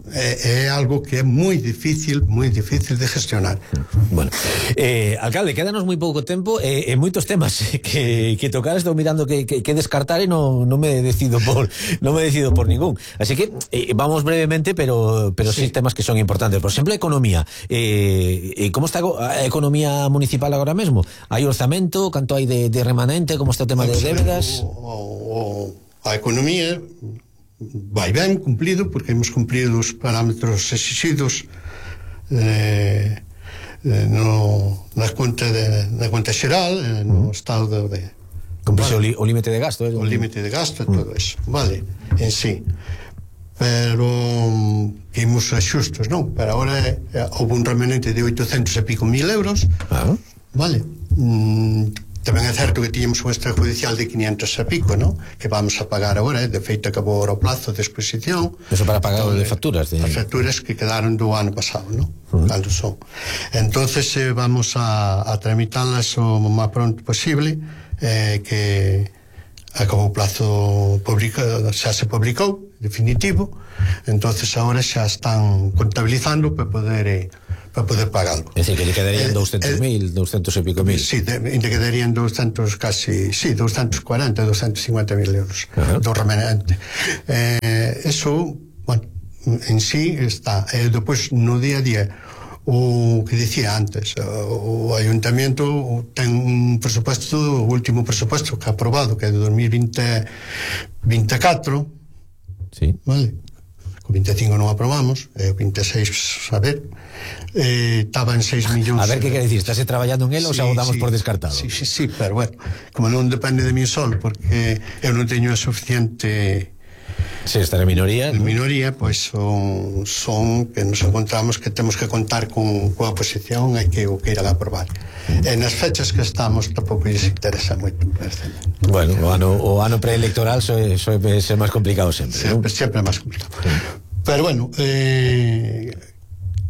É, é algo que é moi difícil, moi difícil de gestionar. Bueno, eh, alcalde, quédanos moi pouco tempo e eh, eh, moitos temas que, que tocar. Estou mirando que, que, que descartar e non no me decido por non me decido por ningún. Así que eh, vamos brevemente, pero pero sí. sí temas que son importantes. Por exemplo, economía. Eh, eh, como está a economía municipal agora mesmo? Hai orzamento? Canto hai de, de remanente? Como está o tema de débedas? O, o, a economía vai ben cumplido, porque hemos cumplido os parámetros exigidos eh, eh, no, na conta de, na conta xeral, eh, no uh-huh. estado de, cumprise vale, o límite de gasto, eh? o límite de gasto e uh-huh. todo eso, vale, en sí. Pero que imos axustos, non? Pero agora eh, houve un remanente de oitocentos e pico mil euros, uh-huh. vale. Mm, tamén é certo que tiñamos un extrajudicial de quinientos e pico, non? Que vamos a pagar agora, eh? De feito acabou agora o plazo de exposición. Eso para pagar de facturas? De... As facturas que quedaron do ano pasado, non? Uh-huh. Cando son. Entonces eh, vamos a, a tramitarlas o máis pronto posible, eh, que acabou o plazo publicado, xa se publicou, definitivo, entonces agora xa están contabilizando para poder... Eh, para poder pagarlo. É dicir, que lle quedarían eh, doscientos mil, doscientos e pico mil. Sí, lle quedarían doscientos, casi, sí, doscientos cuarenta, doscientos cincuenta mil euros uh-huh. do remanente. Eh, eso, bueno, en sí está. E eh, depois, no día a día, o que dicía antes, o Ayuntamiento ten un presupuesto, o último presupuesto que ha aprobado, que é de dos mil veinticuatro, sí. Vale? O vinte e cinco non aprobamos, e o vinte e seis, a ver, eh, estaba en seis millóns. A ver, que quere dicir, estás traballando en él, sí, ou xa o damos sí, por descartado? Sí, sí, sí, pero bueno, como non depende de mí sol, porque eu non teño a suficiente... Se estar en minoría, en ¿no? minoría, pois pues son, son que nos encontramos que temos que contar con coa oposición e que o queiran aprobar. E nas fechas que estamos tampouco lles interesa moito. Bueno, o ano, o ano preelectoral soe, soe ser máis complicado sempre, sempre, ¿no? sempre máis complicado. Sí. Pero bueno, eh,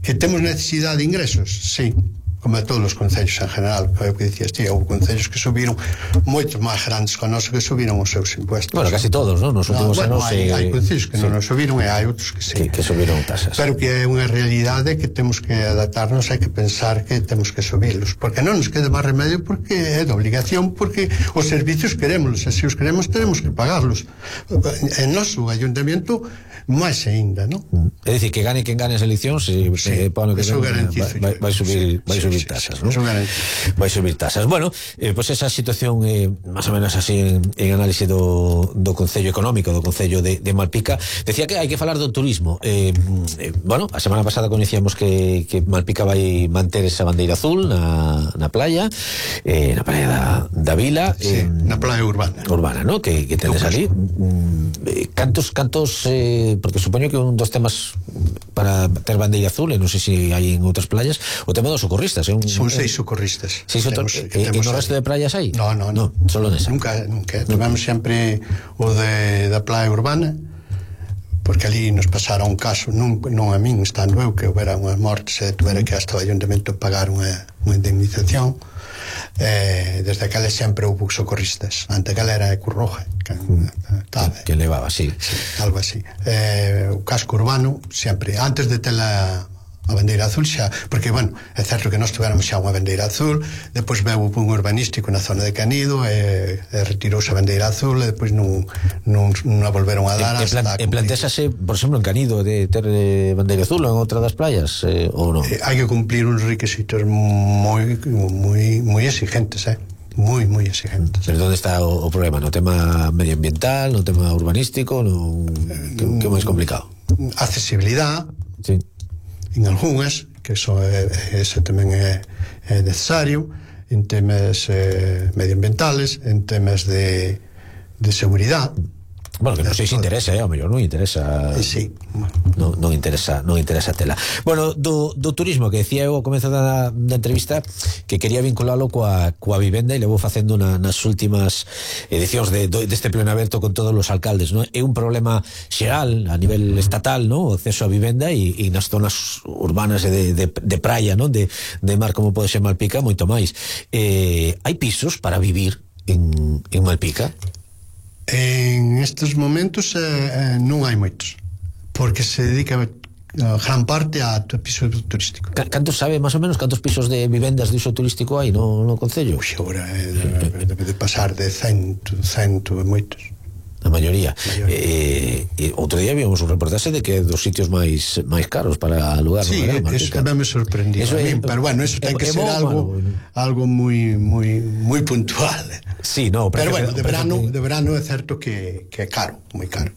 que temos necesidade de ingresos, sí, como a todos os concellos en general, que é o que dicías ti, houve concellos que subiron moito máis grandes que nós que subiron os seus impuestos. Bueno, casi todos, ¿no? Nos últimos no, bueno, anos hai, eh, hai concellos que sí. non nos subiron e hai outros que sí. Que, que subiron tasas. Pero que é unha realidade que temos que adaptarnos, hai que pensar que temos que subirlos, porque non nos queda máis remedio, porque é de obligación, porque os servicios queremos, e se os queremos tenemos que pagarlos. En noso Ayuntamiento máis aínda, non? É dicir, que gane quen gane as eleccións, e sí, eh, para o que eso ven, garantizo vai, vai subir, sí, vai sí, subir sí, tasas, sí, ¿no? Eso garantizo. Vai subir tasas. Bueno, eh, pues esa situación eh, máis ou menos así en, en análise do, do Concello Económico, do Concello de, de Malpica. Decía que hai que falar do turismo. Eh, eh, bueno, a semana pasada coñecíamos que, que Malpica vai manter esa bandeira azul na, na playa, eh, na playa da, da Vila. Sí, eh, na playa urbana. Urbana, ¿no? Que, que tendes ali. Eh, cantos, cantos, eh, porque supoño que un dos temas para ter bandeira azul, e non sei se hai en outras playas, o tema dos socorristas. É un, Son eh, seis socorristas. Seis temos, e, e no resto de playas hai? No, no, no. no solo nesa. Nunca, nunca. Tivemos sempre o de, da playa urbana, porque ali nos pasara un caso, non, non a min, estando eu, que houbera unhas mortes e tuvera que hasta o Ayuntamiento pagar unha, unha indemnización. Eh, desde aquela sempre houve socorristas. Ante aquela era a Cruz Roja que, mm. que, que levaba, sí. sí algo así. Eh, o casco urbano sempre, antes de tela a bandeira azul xa, porque, bueno, é certo que nós tuveramos xa unha bandeira azul, depois veu un urbanístico na zona de Canido e, e retirouse a bandeira azul e depois non, non, non a volveron a dar. E, hasta e plantexase, por exemplo, en Canido de ter eh, bandeira azul ou en outra das playas, eh, ou non? Eh, hai que cumplir uns requisitos moi moi moi exigentes, eh? moi, moi exigentes. Pero onde está o, o problema? No tema medioambiental, no tema urbanístico, no, que, que é máis complicado? Accesibilidade. Sí. En algunhas, que eso é, ese tamén é, é necesario, en temas eh, medioambientales, en temas de, de seguridade. Bueno, que non sei se interesa, eh, ao mellor non interesa. Sí. Non, non interesa, non interesa tela. Bueno, do, do turismo que decía eu ao comezo da, da entrevista, que quería vinculalo coa, coa vivenda, e levo facendo na, nas últimas edicións de, do, deste pleno aberto con todos os alcaldes, non? É un problema xeral a nivel estatal, non? O acceso a vivenda, e, e nas zonas urbanas de, de, de praia, non? De, de mar, como pode ser Malpica, moito máis. Eh, hai pisos para vivir en, en Malpica? En estes momentos eh, eh, non hai moitos, porque se dedica a gran parte a piso turístico. Cantos sabe, máis ou menos, cantos pisos de vivendas de uso turístico hai no, no Concello? Ui, agora eh, debe de pasar de cento, cento e moitos. A maioría. Eh, eh, outro día vimos un reportaje de que é dos sitios máis máis caros para alugar. Sí, no eso tamén me sorprendió a mí, pero bueno, eso ten que ser algo algo moi moi moi puntual. Sí, no, pero bueno, de verano, de verano é certo que, que é caro, moi caro.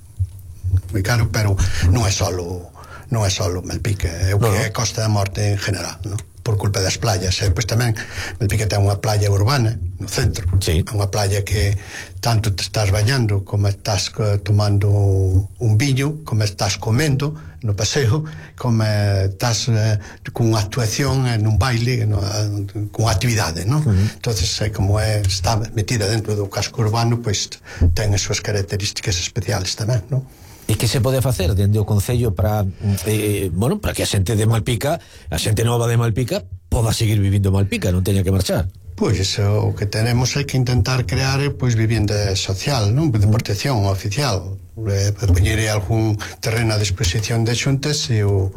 Moi caro, pero non é solo non é solo Malpica, é o que no, no. é Costa da Morte en general, non? Por culpa das playas. E depois tamén Malpica ten unha playa urbana no centro, sí. Unha playa que tanto te estás bañando como estás tomando un viño, como estás comendo no paseo, como estás uh, con unha actuación en un baile, no, uh, con actividade, non? Uh -huh. Entonces, eh, como é, está metida dentro do casco urbano, pois ten as súas características especiales tamén, non? E que se pode facer dende o Concello para eh, bueno, para que a xente de Malpica, a xente nova de Malpica, poda seguir vivindo en Malpica, non teña que marchar? Pois iso, o que tenemos é que intentar crear pois vivienda social, non? De protección oficial. eh, poñerei algún terreno a disposición de Xunta se o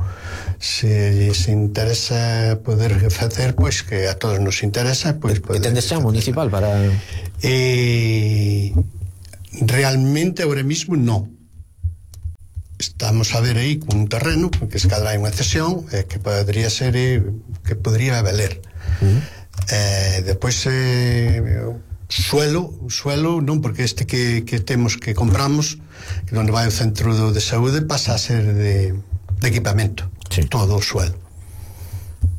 se se interesa poder facer, pois que a todos nos interesa, pois poder. E tendes xa municipal para eh, realmente ahora mismo non. Estamos a ver aí un terreno que se cadra hai unha cesión eh, que podría ser eh, que podría valer. Uh-huh. Eh, depois eh, suelo, suelo non, porque este que, que temos que compramos, que onde vai o centro do, de saúde, pasa a ser de, de equipamento, sí. Todo o suelo.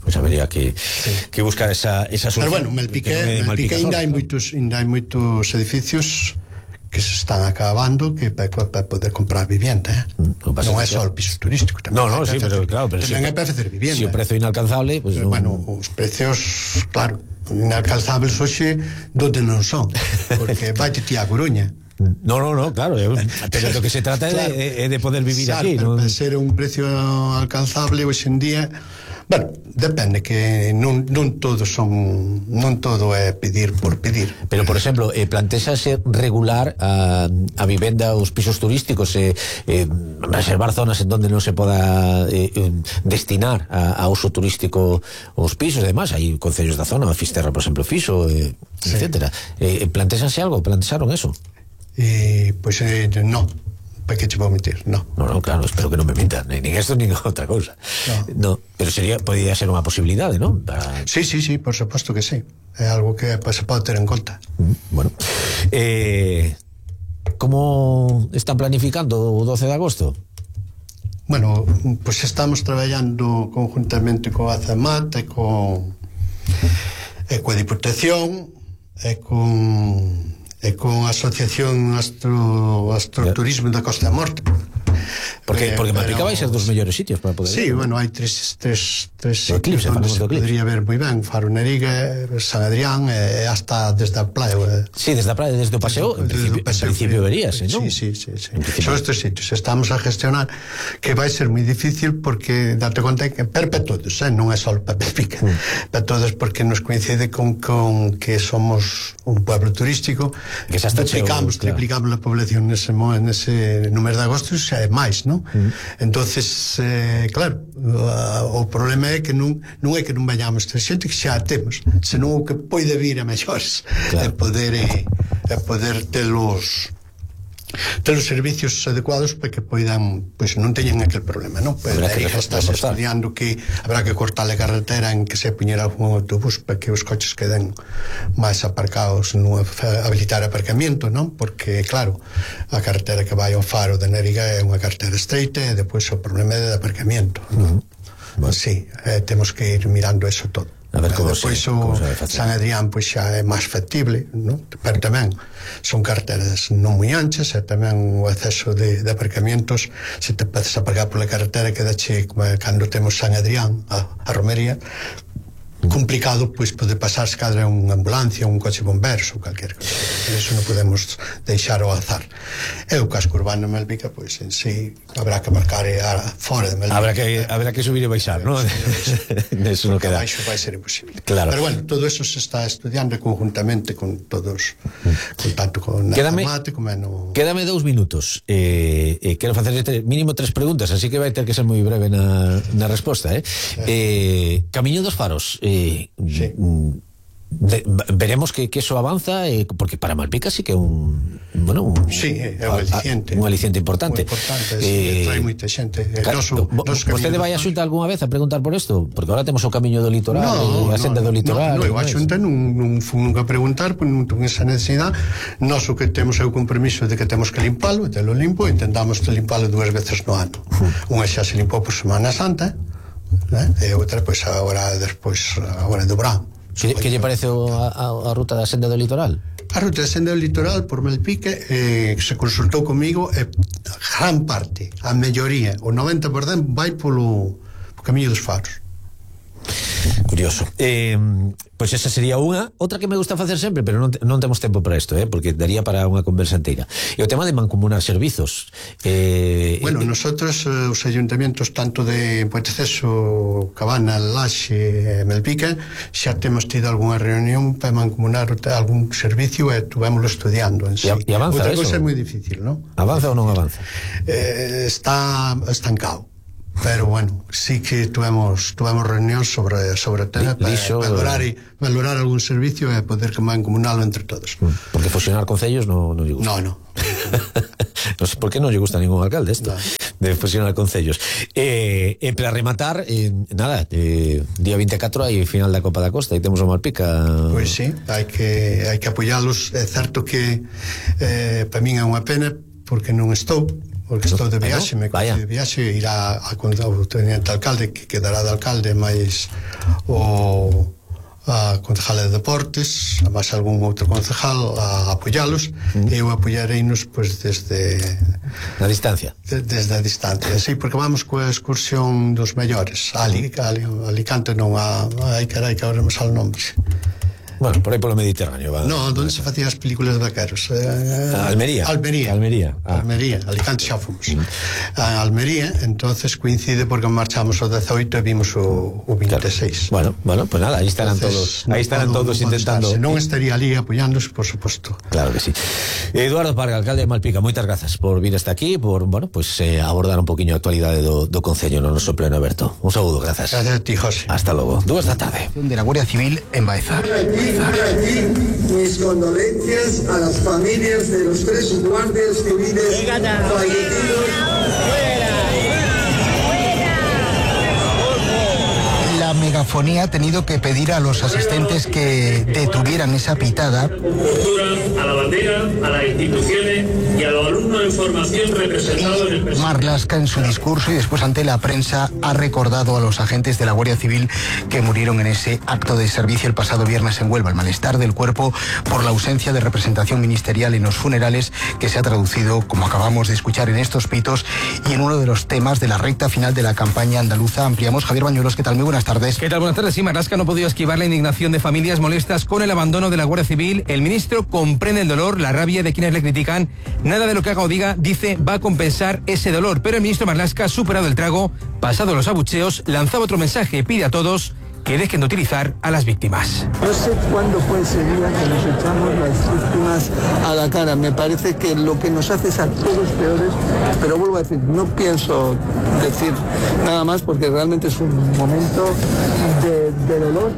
Pois pues habería que, sí. que buscar esa, esa solución. Pero bueno, Melpique, Melpique ainda hai moitos, ainda hai moitos edificios que se están acabando que para pa poder comprar vivienda, eh? No, non é só o piso turístico tamén. No, no, sí, pero claro, pero tamén si, é para facer vivienda. Si o prezo é inalcanzable, pues pero, non... bueno, os precios, claro, inalcanzables hoxe donde non son, porque vai ti a Coruña. No, no, no, claro, pero lo que se trata claro, é de, de poder vivir claro, aquí, ¿no? Para ser un precio alcanzable hoxe en día, bueno, depende que non, non todo son non todo é pedir por pedir. Pero, por exemplo, eh, plantéxase regular a, a vivenda, os pisos turísticos, eh, eh, reservar zonas en donde non se poda eh, destinar a, a uso turístico os pisos, además, hai concellos da zona, Fisterra, por exemplo, Fixo, eh, sí. etcétera. Eh, plantéxase algo? Plantexaron eso? Eh, pois pues, eh, non. ¿Para qué te puedo mentir? No. No, no, claro, espero que no me mintan, ni, ni esto ni otra cosa. No. no pero sería, podría ser unha posibilidade, ¿no? Para... Sí, sí, sí, por supuesto que sí. É algo que pues, se pode ter en conta. Mm, bueno. Eh, ¿Cómo están planificando o doce de agosto? Bueno, pues estamos traballando conjuntamente co ACEMAT e con e coa Diputación e con e con a Asociación Astro, Astroturismo da Costa da Morte. Porque, porque Malpica vai ser dos mellores sitios para poder... Sí, ver, bueno, ¿no? hai tres, tres, tres sitios onde se podría ver moi ben. Faro Neriga, San Adrián e hasta desde a praia. Sí, desde a praia, desde o paseo, en principio, en principio verías, ¿no? Sí, sí, sí, sí. Son estes sitios, estamos a gestionar, que vai ser moi difícil porque date conta que per para todos, eh? Non é só para Malpica, mm. para todos, porque nos coincide con, con que somos un pueblo turístico, que xa está triplicamos, cheo, claro. triplicamos a población nese, nese número de agosto, xa é máis, non? Mm. Entonces, eh, claro, o problema é que non, non é que non vayamos ter xente que xa temos, senón o que pode vir a mellores, claro. e poder e, e poder telos ter os servicios adecuados para que poidan, pois non teñan aquel problema, non? Pois aí está estudiando que habrá que cortar a carretera en que se poñera algún autobús para que os coches queden máis aparcados, non habilitar aparcamiento, non? Porque, claro, a carretera que vai ao Faro de Neriga é unha carretera estreita e depois o problema é de aparcamiento, non? Uh-huh. Bueno. Sí, eh, temos que ir mirando eso todo. A ver como depois se, o como se San Adrián pois xa é máis factible, non? Pero tamén son carreteras non moi anchas e tamén o acceso de, de aparcamientos, se te podes aparcar pola carretera quedache como cando temos San Adrián a, a Romería complicado, pois pode pasar se cadra unha ambulancia, un coche bomberos ou calquer cosa. Eso non podemos deixar ao azar. E o casco urbano de Malpica, pois en sí habrá que marcar a fora de Malpica. Habrá que, habrá que subir e baixar, ¿no? Eso non queda. Baixo vai ser imposible. Claro. Pero bueno, todo eso se está estudiando conjuntamente con todos, con tanto con Mate como no... Quédame dous minutos. Eh, eh, quero facer este, mínimo tres preguntas, así que vai ter que ser moi breve na, na resposta, eh? eh Camiño dos Faros, eh, sí. de, veremos que, que eso avanza, eh, porque para Malpica sí que é un, bueno, un, sí, é un aliciente, un aliciente importante, importante eh, trae moita xente. Claro, noso, vostede vai a Xunta algunha vez a preguntar por isto? Porque agora temos o camiño do litoral, no, a senda no, do litoral. No, no, a Xunta non, non fui nunca a preguntar, porque non ten esa necesidade. Nós o que temos é o compromiso de que temos que limpalo, e te lo limpo, e intentamos limpalo dúas veces no ano. Uh. Unha xa se limpou por Semana Santa, eh? E outra, pois, agora, despois, agora do verán. Que, que lle parece a, a, a ruta da senda do litoral? A ruta da senda do litoral por Malpica eh, se consultou comigo e eh, gran parte, a melloría, o noventa por cento vai polo, polo Camiño dos Faros. Curioso. Eh, pois esa sería unha. Outra que me gusta facer sempre, pero non, non temos tempo para isto, eh, porque daría para unha conversa inteira. E o tema de mancomunar servizos. Eh, Bueno, nosotros, eh, os ayuntamientos tanto de Ponteceso, Cabana, Laxe e Melpica, xa temos tido algunha reunión para mancomunar algún servicio e tuvémoslo estudiando en sí. E, e avanza Outra eso? cousa é moi difícil, non? Avanza ou non avanza? Eh, está estancado. Pero bueno, sí que tuvemos tuvemos reunión sobre sobre o tema para Lixo, valorar e valorar algún servicio e poder mancomunalo entre todos. Porque fusionar concellos no, no lle gusta. No, no. No sé por qué no lle gusta a ningún alcalde esto, no. de fusionar concellos. Eh, e para rematar, eh, nada, eh, día veinticuatro hai final da Copa da Costa e temos o Malpica. Pois sí, hai que hai que apoialos. É certo que eh, para min é unha pena porque non estou porque estou de viaxe, me coñece de viaxe, irá a contar o teniente alcalde, que quedará de alcalde, máis o a concejal de deportes, a máis algún outro concejal a apoialos, mm. e eu apoiareinos pois desde na distancia. De, desde a distancia, sí, porque vamos coa excursión dos mellores, a Ali, a Alicante non a, ai carai, que agora me sale o nombre. Bueno, por aí polo Mediterráneo va. No, onde se facían as películas de vaqueros. Eh, Almería. Almería. Almería. Ah. Almería. Alicante xa fomos. Mm. A Almería, entonces coincide porque marchamos o dezoito e vimos o, o veintiséis. Claro. Bueno, bueno, pues nada, aí estarán entonces, todos, aí estarán no, todos no intentando. Se non estaría ali apoiándose, por suposto. Claro que sí. Eduardo Parga, alcalde de Malpica, moitas grazas por vir hasta aquí, por, bueno, pues eh, abordar un poquinho a actualidade do, do concello no noso pleno aberto. Un saúdo, grazas. Gracias a ti, José. Hasta logo. Dúas da tarde. De la Guardia Civil en Baeza. Mis condolencias a las familias de los tres guardias civiles fallecidos. La megafonía ha tenido que pedir a los asistentes que detuvieran esa pitada. A la bandera, a las instituciones y a los alumnos en formación representados en el presente. Marlaska, en su discurso y después ante la prensa, ha recordado a los agentes de la Guardia Civil que murieron en ese acto de servicio el pasado viernes en Huelva. El malestar del cuerpo por la ausencia de representación ministerial en los funerales, que se ha traducido, como acabamos de escuchar, en estos pitos y en uno de los temas de la recta final de la campaña andaluza. Ampliamos. Javier Bañuelos, ¿qué tal? Muy buenas tardes. ¿Qué tal? Buenas tardes. Sí, Marlaska no ha podido esquivar la indignación de familias molestas con el abandono de la Guardia Civil. El ministro comprende el dolor, la rabia de quienes le critican. Nada de lo que haga o diga, dice, va a compensar ese dolor. Pero el ministro Marlaska, superado el trago, pasado los abucheos, lanzaba otro mensaje. Pide a todos que dejen de utilizar a las víctimas. No sé cuándo fue ese día que nos echamos las víctimas a la cara. Me parece que lo que nos hace es a todos peores, pero vuelvo a decir, no pienso decir nada más porque realmente es un momento de, de dolor,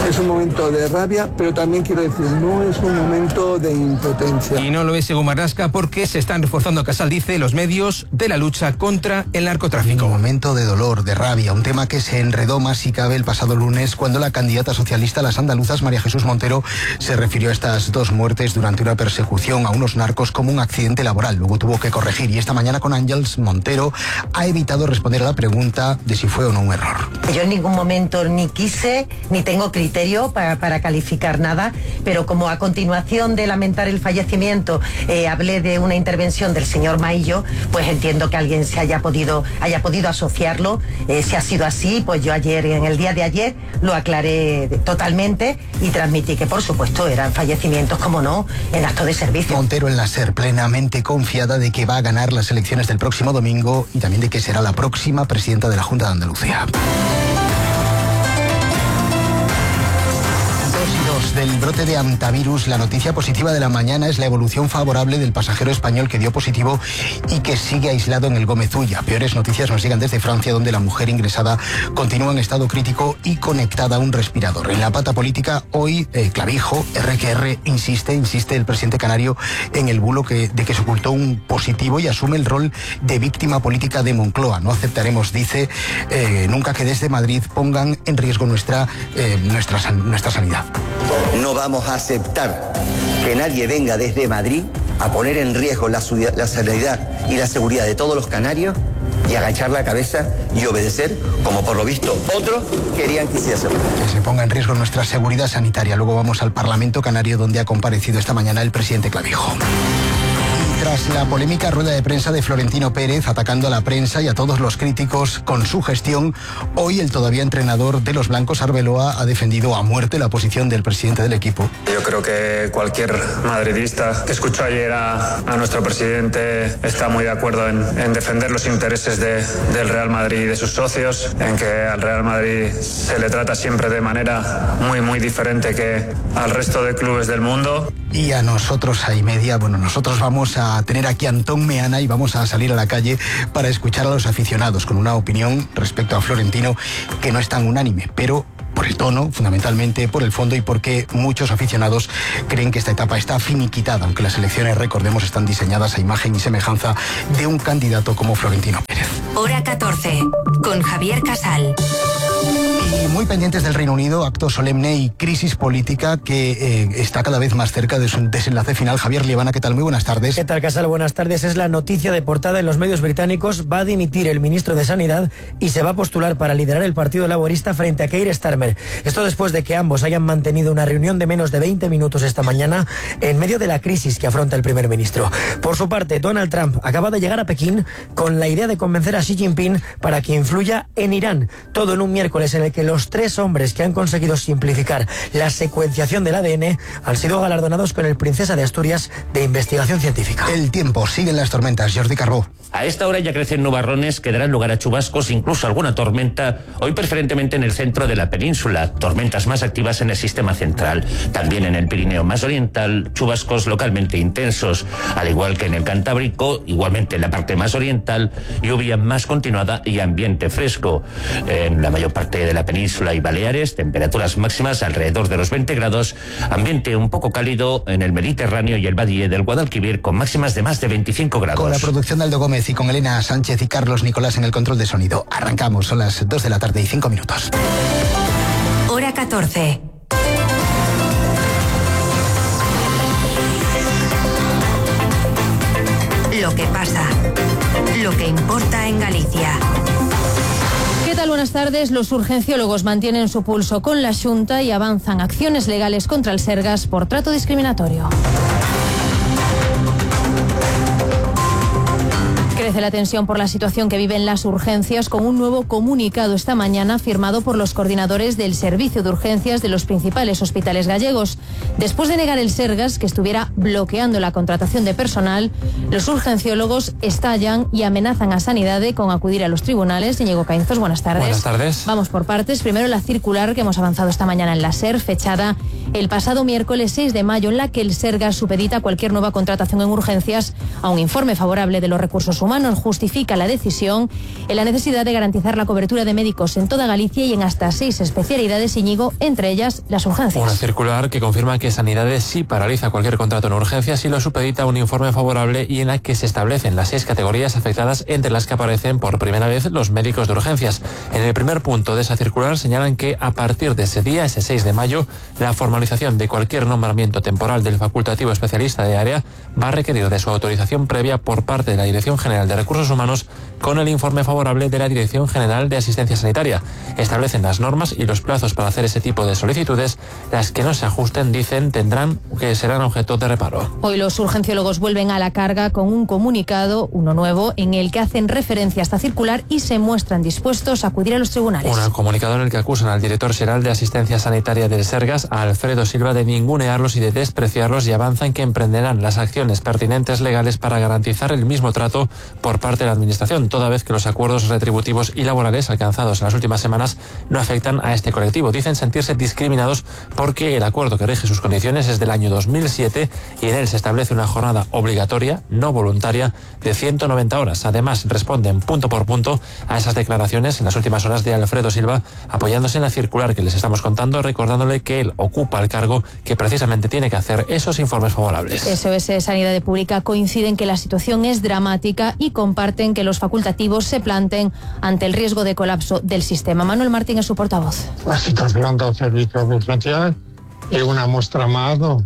es un momento de rabia, pero también quiero decir, no es un momento de impotencia. Y no lo es según Marlaska porque se están reforzando, Casal dice, los medios de la lucha contra el narcotráfico. Un momento de dolor, de rabia, un tema que se enredó más si cabe el pasado lunes lunes cuando la candidata socialista a las andaluzas, María Jesús Montero, se refirió a estas dos muertes durante una persecución a unos narcos como un accidente laboral. Luego tuvo que corregir y esta mañana con Ángeles Montero ha evitado responder a la pregunta de si fue o no un error. Yo en ningún momento ni quise ni tengo criterio para, para calificar nada, pero como a continuación de lamentar el fallecimiento eh, hablé de una intervención del señor Maillo, pues entiendo que alguien se haya podido, haya podido asociarlo. Eh, si ha sido así, pues yo ayer, en el día de ayer, lo aclaré totalmente y transmití que por supuesto eran fallecimientos, como no, en acto de servicio. Montero en la SER, plenamente confiada de que va a ganar las elecciones del próximo domingo y también de que será la próxima presidenta de la Junta de Andalucía. Del brote de hantavirus, la noticia positiva de la mañana es la evolución favorable del pasajero español que dio positivo y que sigue aislado en el Gómez Ulla. Peores noticias nos llegan desde Francia, donde la mujer ingresada continúa en estado crítico y conectada a un respirador. En la pata política, hoy, eh, Clavijo, erre que erre, insiste, insiste el presidente canario en el bulo que, de que se ocultó un positivo y asume el rol de víctima política de Moncloa. No aceptaremos, dice, eh, nunca que desde Madrid pongan en riesgo nuestra, eh, nuestra, nuestra sanidad. No vamos a aceptar que nadie venga desde Madrid a poner en riesgo la, la sanidad y la seguridad de todos los canarios y agachar la cabeza y obedecer, como por lo visto otros querían que hiciese. Que se ponga en riesgo nuestra seguridad sanitaria. Luego vamos al Parlamento Canario, donde ha comparecido esta mañana el presidente Clavijo. Tras la polémica rueda de prensa de Florentino Pérez atacando a la prensa y a todos los críticos con su gestión, hoy el todavía entrenador de los blancos, Arbeloa, ha defendido a muerte la posición del presidente del equipo. Yo creo que cualquier madridista que escuchó ayer a, a nuestro presidente está muy de acuerdo en, en defender los intereses de, del Real Madrid y de sus socios, en que al Real Madrid se le trata siempre de manera muy, muy diferente que al resto de clubes del mundo. Y a nosotros, a y media, bueno, nosotros vamos a tener aquí a Antón Meana y vamos a salir a la calle para escuchar a los aficionados con una opinión respecto a Florentino que no es tan unánime, pero por el tono, fundamentalmente por el fondo y porque muchos aficionados creen que esta etapa está finiquitada, aunque las elecciones, recordemos, están diseñadas a imagen y semejanza de un candidato como Florentino Pérez. Hora catorce, con Javier Casal. Y muy pendientes del Reino Unido, acto solemne y crisis política que eh, está cada vez más cerca de su desenlace final. Javier Liebana, ¿qué tal? Muy buenas tardes. ¿Qué tal, Casal? Buenas tardes. Es la noticia de portada en los medios británicos. Va a dimitir el ministro de Sanidad y se va a postular para liderar el Partido Laborista frente a Keir Starmer. Esto después de que ambos hayan mantenido una reunión de menos de veinte minutos esta mañana en medio de la crisis que afronta el primer ministro. Por su parte, Donald Trump acaba de llegar a Pekín con la idea de convencer a Xi Jinping para que influya en Irán. Todo en un miércoles en el que los tres hombres que han conseguido simplificar la secuenciación del A D N han sido galardonados con el Princesa de Asturias de Investigación Científica. El tiempo, siguen las tormentas. Jordi Carbó. A esta hora ya crecen nubarrones que darán lugar a chubascos, incluso alguna tormenta, hoy preferentemente en el centro de la península, tormentas más activas en el sistema central. También en el Pirineo más oriental, chubascos localmente intensos, al igual que en el Cantábrico, igualmente en la parte más oriental, lluvia más continuada y ambiente fresco. En la mayor parte de la península y Baleares, temperaturas máximas alrededor de los veinte grados, ambiente un poco cálido en el Mediterráneo y el Valle del Guadalquivir con máximas de más de veinticinco grados. Con la producción de Aldo Gómez y con Elena Sánchez y Carlos Nicolás en el control de sonido. Arrancamos, son las dos de la tarde y cinco minutos. Hora catorce. Lo que pasa, lo que importa en Galicia. ¿Qué tal? Buenas tardes. Los urgenciólogos mantienen su pulso con la Xunta y avanzan acciones legales contra el Sergas por trato discriminatorio. Crece la tensión por la situación que viven las urgencias con un nuevo comunicado esta mañana firmado por los coordinadores del servicio de urgencias de los principales hospitales gallegos. Después de negar el Sergas que estuviera bloqueando la contratación de personal, los urgenciólogos estallan y amenazan a Sanidade con acudir a los tribunales. Íñigo Caínzos, buenas tardes. Buenas tardes. Vamos por partes. Primero la circular que hemos avanzado esta mañana en la SER, fechada el pasado miércoles seis de mayo, en la que el Sergas supedita cualquier nueva contratación en urgencias a un informe favorable de los recursos humanos. Justifica la decisión en la necesidad de garantizar la cobertura de médicos en toda Galicia y en hasta seis especialidades, Íñigo, entre ellas las urgencias. Una circular que confirma que Sanidades sí paraliza cualquier contrato en urgencias y lo supedita a un informe favorable y en la que se establecen las seis categorías afectadas, entre las que aparecen por primera vez los médicos de urgencias. En el primer punto de esa circular señalan que a partir de ese día, ese seis de mayo, la formalización de cualquier nombramiento temporal del facultativo especialista de área va a requerir de su autorización previa por parte de la Dirección General de Recursos Humanos con el informe favorable de la Dirección General de Asistencia Sanitaria. Establecen las normas y los plazos para hacer ese tipo de solicitudes. Las que no se ajusten, dicen, tendrán que serán objeto de reparo. Hoy los urgenciólogos vuelven a la carga con un comunicado, uno nuevo, en el que hacen referencia a esta circular y se muestran dispuestos a acudir a los tribunales. Un comunicado en el que acusan al director general de Asistencia Sanitaria del Sergas, a Alfredo Silva, de ningunearlos y de despreciarlos, y avanzan que emprenderán las acciones pertinentes legales para garantizar el mismo trato por parte de la Administración, toda vez que los acuerdos retributivos y laborales alcanzados en las últimas semanas no afectan a este colectivo. Dicen sentirse discriminados porque el acuerdo que rige sus condiciones es del año dos mil siete y en él se establece una jornada obligatoria, no voluntaria, de ciento noventa horas. Además, responden punto por punto a esas declaraciones en las últimas horas de Alfredo Silva, apoyándose en la circular que les estamos contando, recordándole que él ocupa el cargo que precisamente tiene que hacer esos informes favorables. S O S Sanidad Pública coincide en que la situación es dramática y comparten que los facultativos se planten ante el riesgo de colapso del sistema. Manuel Martín es su portavoz. La situación do servicio de urgencias é unha mostra máis do,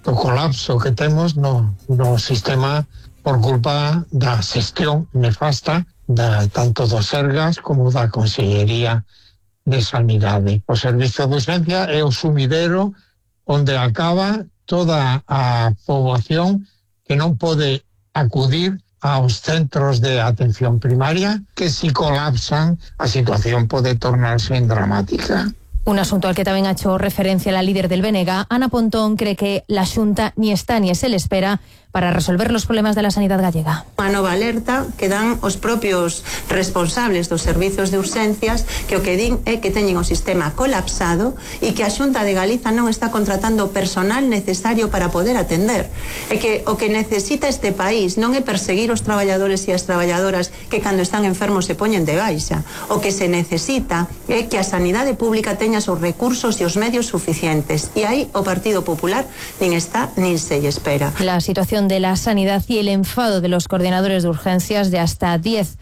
do colapso que temos no, no sistema por culpa da xestión nefasta da, tanto do Sergas como da Consellería de Sanidade. O servicio de urgencia é o sumidero onde acaba toda a poboación que non pode acudir aos centros de atención primaria, que si colapsan a situación pode tornarse en dramática. Un asunto al que también ha hecho referencia la líder del B N G, Ana Pontón, cree que la Xunta ni está ni se le espera para resolver los problemas de la sanidad gallega. Unha nova alerta que dan os propios responsables dos servizos de urxencias, que o que din é que teñen o sistema colapsado e que a Xunta de Galiza non está contratando o personal necesario para poder atender. E que o que necesita este país non é perseguir os traballadores e as traballadoras que cando están enfermos se poñen de baixa. O que se necesita é que a sanidade pública teña os recursos e os medios suficientes. E aí o Partido Popular nin está nin se lle espera. La situación de la sanidad y el enfado de los coordinadores de urgencias de hasta diez